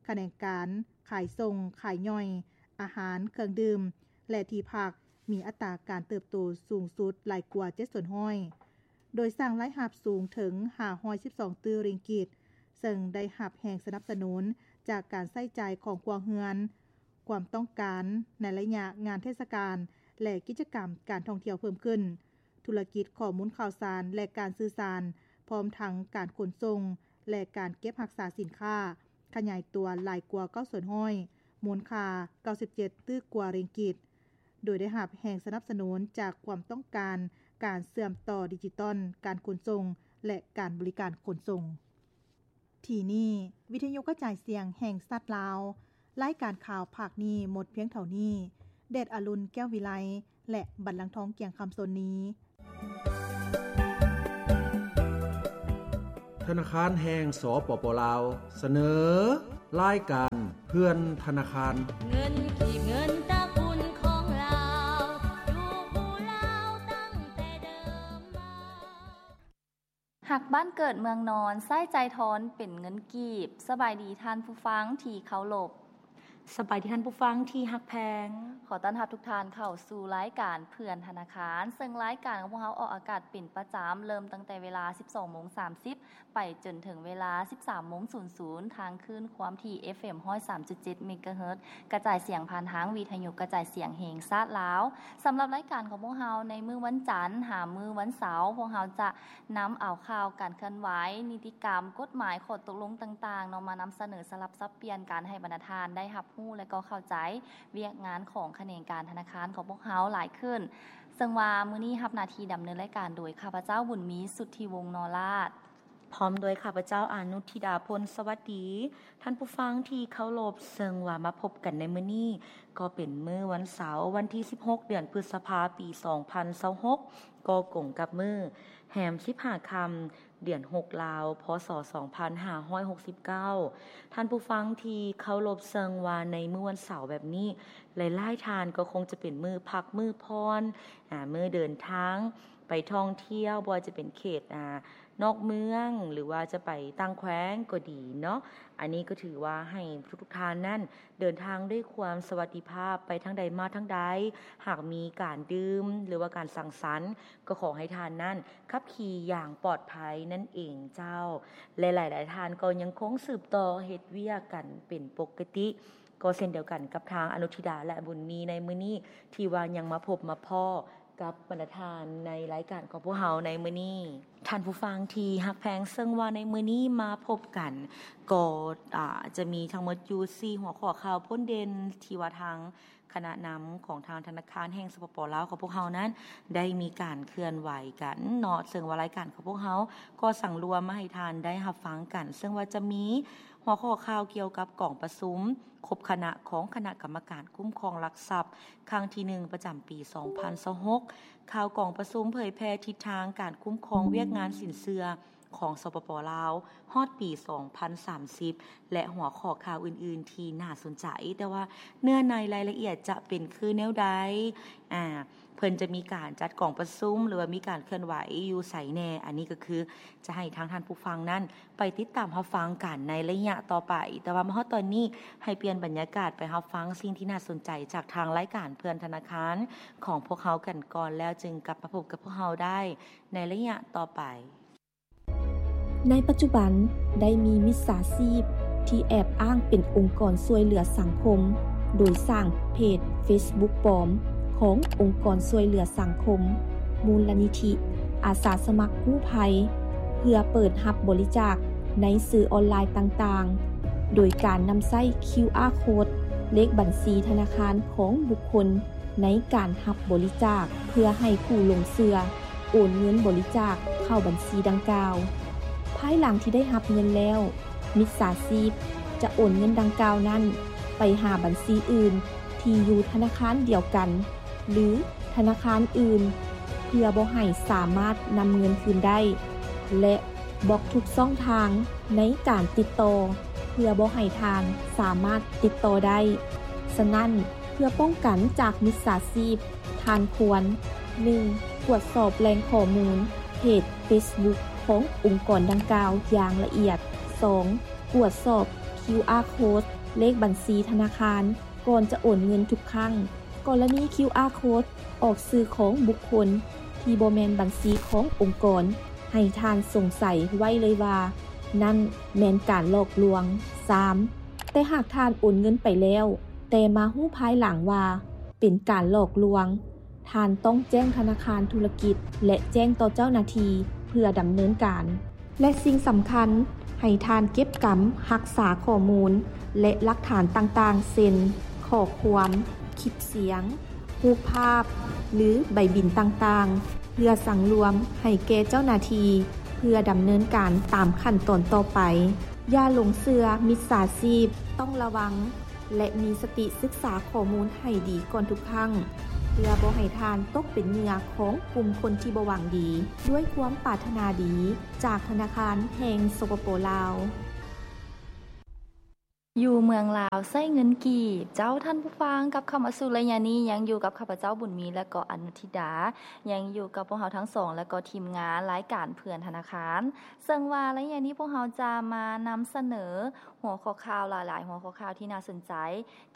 ຂະແໜງການຂາຍສົ່ງ, ຂາຍຍ່ອຍ, ອາຫານ, ເຄື່ອງດື່ມ ແລະ ທີ່ພັກ ມີອັດຕາການເຕີບໂຕສູງສຸດຫຼາຍກວ່າເຈັດສ່ວນຮ້ອຍ. ໂດຍສ້າງລາຍຮັບສູງເຖິງຫ້າຮ້ອຍສິບສອງຕື້ຣິງກິດ, ເຊິ່ງໄດ້ຮັບແຮງສະໜັບສະໜູນຈາກການໃຊ້ຈ່າຍຂອງຄົວເຮືອນ, ຄວາມຕ້ອງການໃນໄລຍະງານເທດສະການ ແລະ ກິດຈະກຳການທ່ອງທ່ຽວເພີ່ມຂຶ້ນ, ທຸລະກິດຂໍ້ມູນຂ່າວສານ ແລະ ການສື່ສານ, ພ້ອມທັງການຂົນສົ່ງ ແລະ ການເກັບຮັກສາສິນຄ້າ ຂະຫຍາຍຕົວຫຼາຍກວ່າເກົ້າສ່ວນຮ້ອຍ, ມູນຄ່າເກົ້າສິບເຈັດຕື້ກວ່າຣິງກິດ. ໂດຍໄດ້ຮັບແຮງສະໜັບສະໜູນຈາກຄວາມຕ້ອງການການເຊື່ອມຕໍ່ດິຈິຕອນການຂົນສົ່ງ ແລະ ການບໍລິການຂົນສົ່ງ. ທີ່ນີ້ ວິທະຍຸກະຈາຍສຽງແຫ່ງຊາດລາວ, ລາຍການຂ່າວພາກນີ້ໝົດພຽງເທົ່ານີ້. ແດດອະລຸນ ແກ້ວວິໄລ ແລະ ບັນລັງທອງ ກຽງຄຳ ສົນນີ. ທະນາຄານແຫ່ງ ສປປ ລາວ ສະເໜີ ລາຍການເພື່ອນທະນາຄານ. ເງິນກີບ ເງິນຕະກຸນຂອງລາວ ຢູ່ຜູ້ລາວຕັ້ງແຕ່ເດີມມາ. ຮັກບ້ານເກີດເມືອງນອນ ໃຊ້ຈ່າຍທອນເປັນເງິນກີບ. ສະບາຍດີທ່ານຜູ້ຟັງທີ່ເຄົາລົບ. ສະບາຍດີທ່ານຜູ້ຟັງທີ່ຮັກແພງ. ຂໍຕ້ອນຮັບທຸກທ່ານເຂົ້າສູ່ລາຍການເພື່ອນທະນາຄານ, ເຊິ່ງລາຍການຂອງພວກເຮົາອອກອາກາດເປັນປະຈຳ, ເລີ່ມຕັ້ງແຕ່ເວລາສິບສອງໂມງສາມສິບ ໄປຈົນເຖິງເວລາສິບສາມໂມງສູນສູນ ທາງຄື້ນຄວາມຖີ່ ເອັຟເອັມ ຮ້ອຍສາມຈຸດເຈັດ ເມກາເຮີດ ກະຈາຍສຽງຜ່ານທາງວິທະຍຸກະຈາຍສຽງແຫ່ງຊາດລາວ. ສຳລັບລາຍການຂອງພວກເຮົາໃນມື້ວັນຈັນຫາມື້ວັນເສົາ, ພວກເຮົາຈະ ນຳເອົາຂ່າວການເຄື່ອນໄຫວ, ນິຕິກຳ, ກົດໝາຍ, ຂໍ້ຕົກລົງຕ່າງໆເນາະ ມານຳສະເໜີສະຫຼັບສັບປ່ຽນກັນ ໃຫ້ບັນດາທ່ານໄດ້ຮັບຮູ້ ແລະ ກໍເຂົ້າໃຈວຽກງານຂອງຂະແໜງການທະນາຄານຂອງພວກເຮົາຫຼາຍຂຶ້ນ. ເຊິ່ງວ່າມື້ນີ້ຮັບໜ້າທີ່ດຳເນີນລາຍການໂດຍຂ້າພະເຈົ້າ ບຸນມີ ສຸດທິວົງ ນໍລາດ ພ້ອມດ້ວຍຂ້າພະເຈົ້າ ອານຸທິດາ ພົນສະຫວັດດີ. ທ່ານຜູ້ຟັງທີ່ເຄົາລົບ, ເຊິ່ງວ່າມາພົບກັນໃນມື້ນີ້ ກໍເປັນມື້ວັນເສົາ ວັນທີສິບຫົກ ເດືອນພຶດສະພາ ປີສອງພັນຊາວຫົກ ກໍກົງກັບມື້ແຮມສິບຫ້າຄ່ຳ ເດືອນຫົກລາວ ພ.ສ. ສອງພັນຫ້າຮ້ອຍຫົກສິບເກົ້າ. ທ່ານຜູ້ຟັງທີ່ເຄົາລົບ, ເຊິ່ງວ່າໃນມື້ວັນເສົາແບບນີ້ ຫຼາຍໆທ່ານກໍຄົງຈະເປັນມື້ພັກ ມື້ຜ່ອນ ອາ ມື້ເດີນທາງໄປທ່ອງທ່ຽວ, ບໍ່ວ່າຈະເປັນເຂດ ອາ ນອກເມືອງ ຫຼືວ່າຈະໄປຕ່າງແຂວງກໍດີເນາະ. ອັນນີ້ກໍຖືວ່າໃຫ້ທຸກໆທ່ານນັ້ນ ເດີນທາງດ້ວຍຄວາມສະຫວັດດີພາບ ໄປທາງໃດມາທາງໃດ. ຫາກມີການດື່ມ ຫຼືວ່າການສັງສັນ ກໍຂໍໃຫ້ທ່ານນັ້ນຂັບຂີ່ຢ່າງປອດໄພນັ້ນເອງເຈົ້າ. ແລະ ຫຼາຍໆທ່ານກໍຍັງຄົງສືບຕໍ່ເຮັດວຽກກັນເປັນປົກກະຕິ ກໍເຊັ່ນດຽວກັນກັບທາງອະນຸທິດາ ແລະ ບຸນມີໃນມື້ນີ້ ທີ່ວ່າຍັງມາພົບມາພໍ້ ກັບບັນດາທ່ານໃນລາຍການຂອງພວກເຮົາໃນມື້ນີ້. ທ່ານຜູ້ຟັງທີ່ຮັກແພງ, ເຊິ່ງວ່າໃນມື້ນີ້ມາພົບກັນ ກໍ ອາ ຈະມີທັງໝົດຢູ່ສີ່ຫົວຂໍ້ຂ່າວພົ້ນເດັ່ນ ທີ່ວ່າທາງຄະນະນຳຂອງທາງທະນາຄານແຫ່ງ ສປປ ລາວ ຂອງພວກເຮົານັ້ນ ໄດ້ມີການເຄື່ອນໄຫວກັນເນາະ. ເຊິ່ງວ່າລາຍການຂອງພວກເຮົາກໍສັງລວມມາໃຫ້ທ່ານໄດ້ຮັບຟັງກັນ, ເຊິ່ງວ່າຈະມີຫົວຂໍ້ຂ່າວກ່ຽວກັບກອງປະຊຸມ ຄົບຄະນະຂອງຄະນະກຳມະການຄຸ້ມຄອງຫຼັກຊັບ ຄັ້ງທີໜຶ່ງ ປະຈຳປີສອງພັນຊາວຫົກ, ຂ່າວກອງປະຊຸມເຜີຍແຜ່ທິດທາງການຄຸ້ມຄອງວຽກງານສິນເຊື່ອຂອງ ສປປ ລາວ ຮອດປີສອງພັນສາມສິບ ແລະ ຫົວຂໍ້ຂ່າວອື່ນໆທີ່ໜ້າສົນໃຈ. ແຕ່ວ່າເນື້ອໃນລາຍລະອຽດຈະເປັນຄືແນວໃດ? ອາ ເພິ່ນຈະມີການຈັດກອງປະຊຸມ ຫຼືວ່າມີການເຄື່ອນໄຫວຢູ່ໃສແດ່? ອັນນີ້ກໍຄືຈະໃຫ້ທາງທ່ານຜູ້ຟັງນັ້ນ ໄປຕິດຕາມຮັບຟັງກັນໃນໄລຍະຕໍ່ໄປ. ແຕ່ວ່າມາຮອດຕອນນີ້ ໃຫ້ປ່ຽນບັນຍາກາດໄປຮັບຟັງສິ່ງທີ່ໜ້າສົນໃຈຈາກທາງລາຍການເພື່ອນທະນາຄານຂອງພວກເຮົາກັນກ່ອນ, ແລ້ວຈຶ່ງກັບມາພົບກັບພວກເຮົາໄດ້ໃນໄລຍະຕໍ່ໄປ. ໃນປັດຈຸບັນ ໄດ້ມີມິດສາຊີບທີ່ແອບອ້າງເປັນອົງກອນຊ່ວຍເຫຼືອສັງຄົມ ໂດຍສ້າງເພຈເຟສບຸກປອມຂອງອົງກອນຊ່ວຍເຫຼືອສັງຄົມ ມູນລະນິທິອາສາສະໝັກກູ້ໄພ ເພື່ອເປີດຮັບບໍລິຈາກໃນສື່ອອນລາຍຕ່າງໆ ໂດຍການນຳໃຊ້ຄິວອາໂຄດ ເລກບັນຊີທະນາຄານຂອງບຸກຄົນໃນການຮັບບໍລິຈາກ ເພື່ອໃຫ້ຜູ້ຫຼົງເຊື່ອໂອນເງິນບໍລິຈາກເຂົ້າບັນຊີດັ່ງກ່າວ. ພາຍຫຼັງທີ່ໄດ້ຮັບເງິນແລ້ວ, ມິດສາຊີບຈະໂອນເງິນດັ່ງກ່າວນັ້ນໄປຫາບັນຊີອື່ນທີ່ຢູ່ທະນາຄານດຽວກັນ ຫຼື ທະນາຄານອື່ນ ເພື່ອບໍ່ໃຫ້ສາມາດນຳເງິນຄືນໄດ້ ແລະ ບລັອກທຸກຊ່ອງທາງໃນການຕິດຕໍ່ ເພື່ອບໍ່ໃຫ້ທ່ານສາມາດຕິດຕໍ່ໄດ້. ສະນັ້ນ, ເພື່ອປ້ອງກັນຈາກມິດສາຊີບ, ທ່ານຄວນ ໜຶ່ງ ກວດສອບແຫຼ່ງຂໍ້ມູນເພຈເຟສບຸກຂອງອົງກອນດັ່ງກ່າວຢ່າງລະອຽດ. ສອງ ກວດສອບຄິວອາໂຄດ ເລກບັນຊີທະນາຄານ ກ່ອນຈະໂອນເງິນທຸກຄັ້ງ. ກໍລະນີຄິວອາໂຄດອອກຊື່ຂອງບຸກຄົນທີ່ບໍ່ແມ່ນບັນຊີຂອງອົງກອນ ໃຫ້ທ່ານສົງໄສໄວ້ເລີຍວ່າ ນັ້ນແມ່ນການຫຼອກລວງ. ສາມ ແຕ່ຫາກທ່ານໂອນເງິນໄປແລ້ວ ແຕ່ມາຮູ້ພາຍຫຼັງວ່າເປັນການຫຼອກລວງ, ທ່ານຕ້ອງແຈ້ງທະນາຄານທຸລະກິດ ແລະ ແຈ້ງຕໍ່ເຈົ້າໜ້າທີ່ເພື່ອດຳເນີນການ. ແລະ ສິ່ງສຳຄັນ, ໃຫ້ທ່ານເກັບກຳຮັກສາຂໍ້ມູນ ແລະ ຫຼັກຖານຕ່າງໆ ເຊັ່ນ ຂໍ້ຄວາມ, ຄລິບສຽງ, ຮູບພາບ ຫຼື ໃບບິນຕ່າງໆ ເພື່ອສັ່ງລວມໃຫ້ແກ່ເຈົ້າໜ້າທີ່ ເພື່ອດຳເນີນການຕາມຂັ້ນຕອນຕໍ່ໄປ. ຢ່າຫຼົງເຊື່ອມິດສາຊີບ, ຕ້ອງລະວັງ ແລະ ມີສະຕິສຶກສາຂໍ້ມູນໃຫ້ດີກ່ອນທຸກຄັ້ງ ເພື່ອບໍ່ໃຫ້ທ່ານຕົກເປັນເຫຍື່ອຂອງກຸ່ມຄົນທີ່ບໍ່ຫວັງດີ. ດ້ວຍຄວາມປາດຖະໜາດີ ຈາກທະນາຄານແຫ່ງ ສປປ ລາວ. ຢູ່ເມືອງລາວໃຊ້ເງິນກີບ. ເຈົ້າທ່ານຜູ້ຟັງ, ກັບເຂົ້າມາສູ່ໄລຍະນີ້ ຍັງຢູ່ກັບຂ້າພະເຈົ້າ ບຸນມີ ແລະ ກໍອະນຸທິດາ, ຍັງຢູ່ກັບພວກເຮົາທັງສອງ ແລະ ກໍທີມງານລາຍການເພື່ອນທະນາຄານ. ເຊິ່ງວ່າໄລຍະນີ້ພວກເຮົາຈະມານຳສະເໜີຫົວຂໍ້ຂ່າວຫຼາຍໆ ຫົວຂໍ້ຂ່າວທີ່ໜ້າສົນໃຈ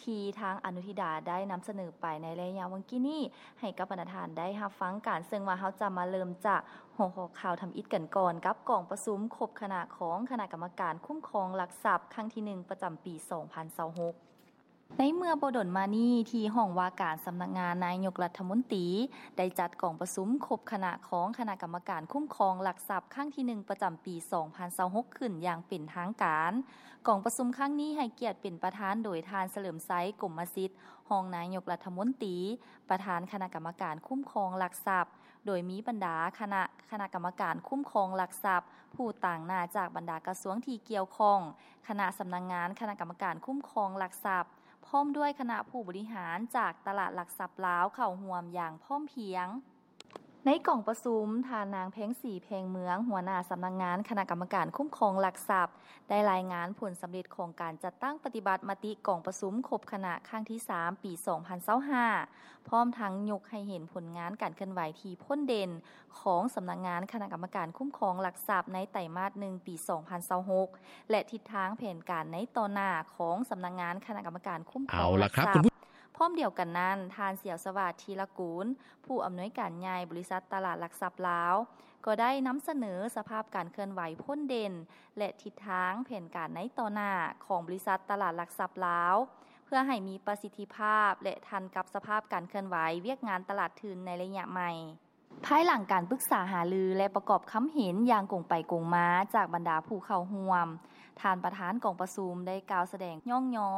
ທີ່ທາງອະນຸທິດາໄດ້ນຳສະເໜີໄປໃນໄລຍະຫວ່າງກີ້ນີ້ ໃຫ້ກັບບັນດາທ່ານໄດ້ຮັບຟັງກັນ. ເຊິ່ງວ່າເຮົາຈະມາເລີ່ມຈາກຫົວຂໍ້ຂ່າວທຳອິດກັນກ່ອນ ກັບກອງປະຊຸມຄົບຄະນະຂອງຄະນະກຳມະການຄຸ້ມຄອງຫຼັກຊັບ ຄັ້ງທີໜຶ່ງ ປະຈຳປີສອງພັນຊາວຫົກ. ໃນເມື່ອບໍ່ດົນມານີ້ ທີ່ຫ້ອງວ່າການສຳນັກງານນາຍົກລັດຖະມົນຕີ ໄດ້ຈັດກອງປະຊຸມຄົບຄະນະຂອງຄະນະກຳມະການຄຸ້ມຄອງຫຼັກຊັບ ຄັ້ງທີໜຶ່ງ ປະຈຳປີສອງພັນຊາວຫົກ ຂຶ້ນຢ່າງເປັນທາງການ. ກອງປະຊຸມຄັ້ງນີ້ໃຫ້ກຽດເປັນປະທານໂດຍທ່ານ ສະເຫຼີມໄຊ ກົມມະສິດ ຮອງນາຍົກລັດຖະມົນຕີ, ປະທານຄະນະກຳມະການຄຸ້ມຄອງຫຼັກຊັບ, ໂດຍມີບັນດາຄະນະ ຄະນະກຳມະການຄຸ້ມຄອງຫຼັກຊັບ, ຜູ້ຕາງໜ້າຈາກບັນດາກະຊວງທີ່ກ່ຽວຂ້ອງ, ຄະນະສຳນັກງານຄະນະກຳມະການຄຸ້ມຄອງຫຼັກຊັບ, ພ້ອມດ້ວຍຄະນະຜູ້ບໍລິຫານຈາກຕະຫຼາດຫຼັກຊັບລາວເຂົ້າຮ່ວມຢ່າງພ້ອມພຽງ. ໃນກອງປະຊຸມ, ທ່ານນາງ ແພງສີ ແພງເມືອງ, ຫົວໜ້າສຳນັກງານຄະນະກຳມະການຄຸ້ມຄອງຫຼັກຊັບ, ໄດ້ລາຍງານຜົນສຳເລັດຂອງການຈັດຕັ້ງປະຕິບັດມະຕິກອງປະຊຸມຄົບຄະນະຄັ້ງທີສາມ ປີສອງພັນຊາວຫ້າ ພ້ອມທັງຍົກໃຫ້ເຫັນຜົນງານການເຄື່ອນໄຫວທີ່ພົ້ນເດັ່ນຂອງສຳນັກງານຄະນະກຳມະການຄຸ້ມຄອງຫຼັກຊັບໃນໄຕມາດໜຶ່ງ ປີສອງພັນຊາວຫົກ ແລະ ທິດທາງແຜນການໃນຕໍ່ໜ້າຂອງສຳນັກງານຄະນະກຳມະການຄຸ້ມຄອງຫຼັກຊັບ. ພ້ອມດຽວກັນນັ້ນ, ທ່ານ ສຽວສະຫວາດ ທີລະກູນ, ຜູ້ອຳນວຍການໃຫຍ່ບໍລິສັດຕະຫຼາດຫຼັກຊັບລາວ, ກໍໄດ້ນຳສະເໜີສະພາບການເຄື່ອນໄຫວພົ້ນເດັ່ນ ແລະ ທິດທາງແຜນການໃນຕໍ່ໜ້າຂອງບໍລິສັດຕະຫຼາດຫຼັກຊັບລາວ ເພື່ອໃຫ້ມີປະສິດທິພາບ ແລະ ທັນກັບສະພາບການເຄື່ອນໄຫວວຽກງານຕະຫຼາດທຶນໃນໄລຍະໃໝ່. ພາຍຫຼັງການປຶກສາຫາລື ແລະ ປະກອບຄຳເຫັນຢ່າງກົງໄປກົງມາຈາກບັນດາຜູ້ເຂົ້າຮ່ວມ, ທ່ານປະທານກອງປະຊຸມໄດ້ກ່າວສະແດງຍ້ອງຍໍ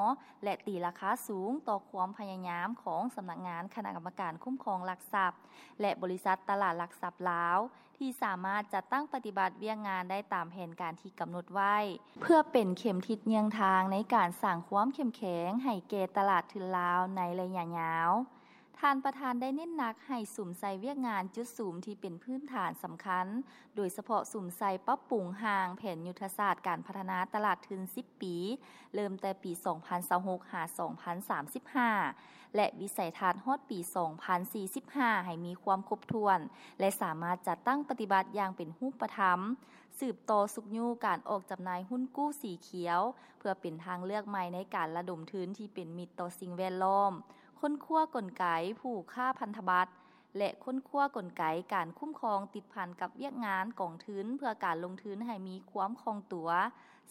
ແລະ ຕີລາຄາສູງຕໍ່ຄວາມພະຍາຍາມຂອງສຳນັກງານຄະນະກຳມະການຄຸ້ມຄອງຫຼັກຊັບ ແລະ ບໍລິສັດຕະຫຼາດຫຼັກຊັບລາວ ທີ່ສາມາດຈັດຕັ້ງປະຕິບັດວຽກງານໄດ້ຕາມແຜນການທີ່ກຳນົດໄວ້, ເພື່ອເປັນເຂັມທິດເຍືອງທາງໃນການສ້າງຄວາມເຂັ້ມແຂງໃຫ້ແກ່ຕະຫຼາດທຶນລາວໃນໄລຍະຍາວ. ທ່ານປະທານໄດ້ເນັ້ນໜັກໃຫ້ສຸມໃສ່ວຽກງານຈຸດສຸມທີ່ເປັນພື້ນຖານສຳຄັນ, ໂດຍສະເພາະສຸມໃສ່ປັບປຸງຮ່າງແຜນຍຸດທະສາດການພັດທະນາຕະຫຼາດທຶນສິບປີ, ເລີ່ມແຕ່ປີສອງພັນຊາວຫົກ ຫາ ສອງພັນສາມສິບຫ້າ ແລະ ວິໄສທັດຮອດປີສອງພັນສີ່ສິບຫ້າ ໃຫ້ມີຄວາມຄົບຖ້ວນ ແລະ ສາມາດຈັດຕັ້ງປະຕິບັດຢ່າງເປັນຮູບປະທຳ, ສືບຕໍ່ຊຸກຍູ້ການອອກຈຳໜ່າຍຮຸ້ນກູ້ສີຂຽວ ເພື່ອເປັນທາງເລືອກໃໝ່ໃນການລະດົມທຶນທີ່ເປັນມິດຕໍ່ສິ່ງແວດລ້ອມ, ຄົ້ນຄວ້າກົນໄກຜູ້ຄ້າພັນທະບັດ ແລະ ຄົ້ນຄວ້າກົນໄກການຄຸ້ມຄອງຕິດພັນກັບວຽກງານກອງທຶນເພື່ອການລົງທຶນໃຫ້ມີຄວາມຄ່ອງຕົວ,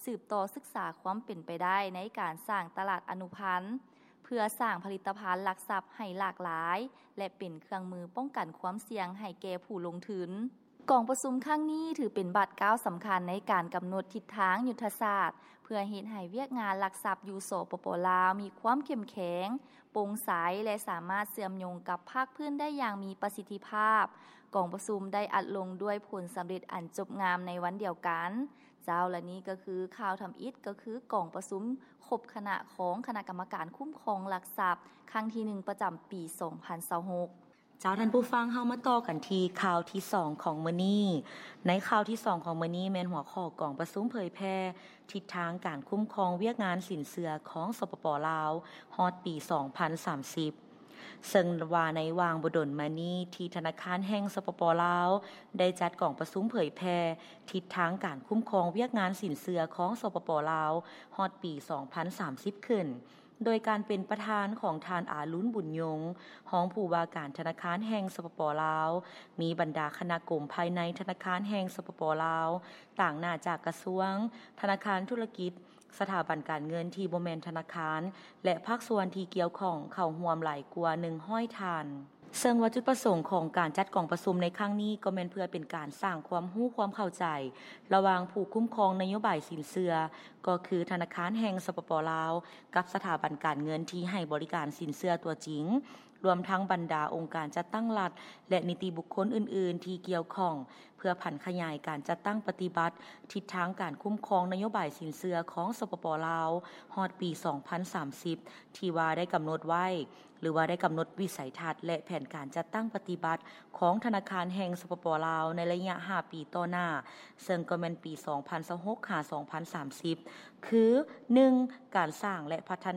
ສືບຕໍ່ສຶກສາຄວາມເປັນໄປໄດ້ໃນການສ້າງຕະຫຼາດອະນຸພັນ ເພື່ອສ້າງຜະລິດຕະພັນຫຼັກຊັບໃຫ້ຫຼາກຫຼາຍ ແລະ ເປັນເຄື່ອງມືປ້ອງກັນຄວາມສ່ຽງໃຫ້ແກ່ຜູ້ລົງທຶນ. ກອງປະຊຸມຄັ້ງນີ້ຖືເປັນບາດກ້າວສຳຄັນໃນການກຳນົດທິດທາງຍຸດທະສາດ ເພື່ອເຮັດໃຫ້ວຽກງານຫຼັກຊັບຢູ່ ສປປ ລາວ ມີຄວາມເຂັ້ມແຂງ, ໂປ່ງໃສ ແລະ ສາມາດເຊື່ອມໂຍງກັບພາກພື້ນໄດ້ຢ່າງມີປະສິດທິພາບ. ກອງປະຊຸມໄດ້ອັດລົງດ້ວຍຜົນສຳເລັດອັນຈົບງາມໃນວັນດຽວກັນ. ເຈົ້າ ແລະ ນີ້ກໍຄືຂ່າວທຳອິດ ກໍຄືກອງປະຊຸມຄົບຄະນະຂອງຄະນະກຳມະການຄຸ້ມຄອງຫຼັກຊັບ ຄັ້ງທີໜຶ່ງ ປະຈຳປີສອງພັນຊາວຫົກ. ເຈົ້າ ທ່ານຜູ້ຟັງ, ເຮົາມາຕໍ່ກັນທີ່ຂ່າວທີສອງຂອງມື້ນີ້. ໃນຂ່າວທີສອງຂອງມື້ນີ້ແມ່ນຫົວຂໍ້ກອງປະຊຸມເຜີຍແຜ່ທິດທາງການຄຸ້ມຄອງວຽກງານສິນເຊື່ອຂອງ ສປປ ລາວ ຮອດປີສອງພັນສາມສິບ. ເຊິ່ງວ່າໃນຫວ່າງບໍ່ດົນມານີ້ ທີ່ທະນາຄານແຫ່ງ ສປປ ລາວ ໄດ້ຈັດກອງປະຊຸມເຜີຍແຜ່ທິດທາງການຄຸ້ມຄອງວຽກງານສິນເຊື່ອຂອງ ສປປ ລາວ ຮອດປີສອງພັນສາມສິບ ຂຶ້ນ ໂດຍການເປັນປະທານຂອງທ່ານ ອາລຸນ ບຸນຍົງ, ຮອງຜູ້ວ່າການທະນາຄານແຫ່ງ ສປປ ລາວ, ມີບັນດາຄະນະກົມພາຍໃນທະນາຄານແຫ່ງ ສປປ ລາວ, ຕາງໜ້າຈາກກະຊວງ, ທະນາຄານທຸລະກິດ, ສະຖາບັນການເງິນທີ່ບໍ່ແມ່ນທະນາຄານ ແລະ ພາກສ່ວນທີ່ກ່ຽວຂ້ອງເຂົ້າຮ່ວມຫຼາຍກວ່າໜຶ່ງຮ້ອຍທ່ານ. ເຊິ່ງວ່າຈຸດປະສົງຂອງການຈັດກອງປະຊຸມໃນຄັ້ງນີ້ ກໍແມ່ນເພື່ອເປັນການສ້າງຄວາມຮູ້ຄວາມເຂົ້າໃຈ ລະຫວ່າງຜູ້ຄຸ້ມຄອງນະໂຍບາຍສິນເຊື່ອ ກໍຄືທະນາຄານແຫ່ງ ສປປ ລາວ ກັບສະຖາບັນການເງິນທີ່ໃຫ້ບໍລິການສິນເຊື່ອຕົວຈິງ ລວມທັງບັນດາອົງການຈັດຕັ້ງລັດ ແລະ ນິຕິບຸກຄົນອື່ນໆທີ່ກ່ຽວຂ້ອງ ເພື່ອຜັນຂະຫຍາຍການຈັດຕັ້ງປະຕິບັດທິດທາງການຄຸ້ມຄອງນະໂຍບາຍສິນເຊື່ອຂອງ ສປປ ລາວ ຮອດປີສອງພັນສາມສິບ ທີ່ວ່າໄດ້ກຳນົດໄວ້ ຫຼືວ່າໄດ້ກຳນົດວິໄສທັດ ແລະ ແຜນການຈັດຕັ້ງປະຕິບັດຂອງທະນາຄານແຫ່ງ ສປປ ລາວ ໃນໄລຍະຫ້າປີຕໍ່ໜ້າ ເຊິ່ງກໍແມ່ນປີສອງພັນຊາວຫົກຫາສອງພັນສາມສິບ ຄື ໜຶ່ງ ການສ້າງ ແລະ ພັດທະນາ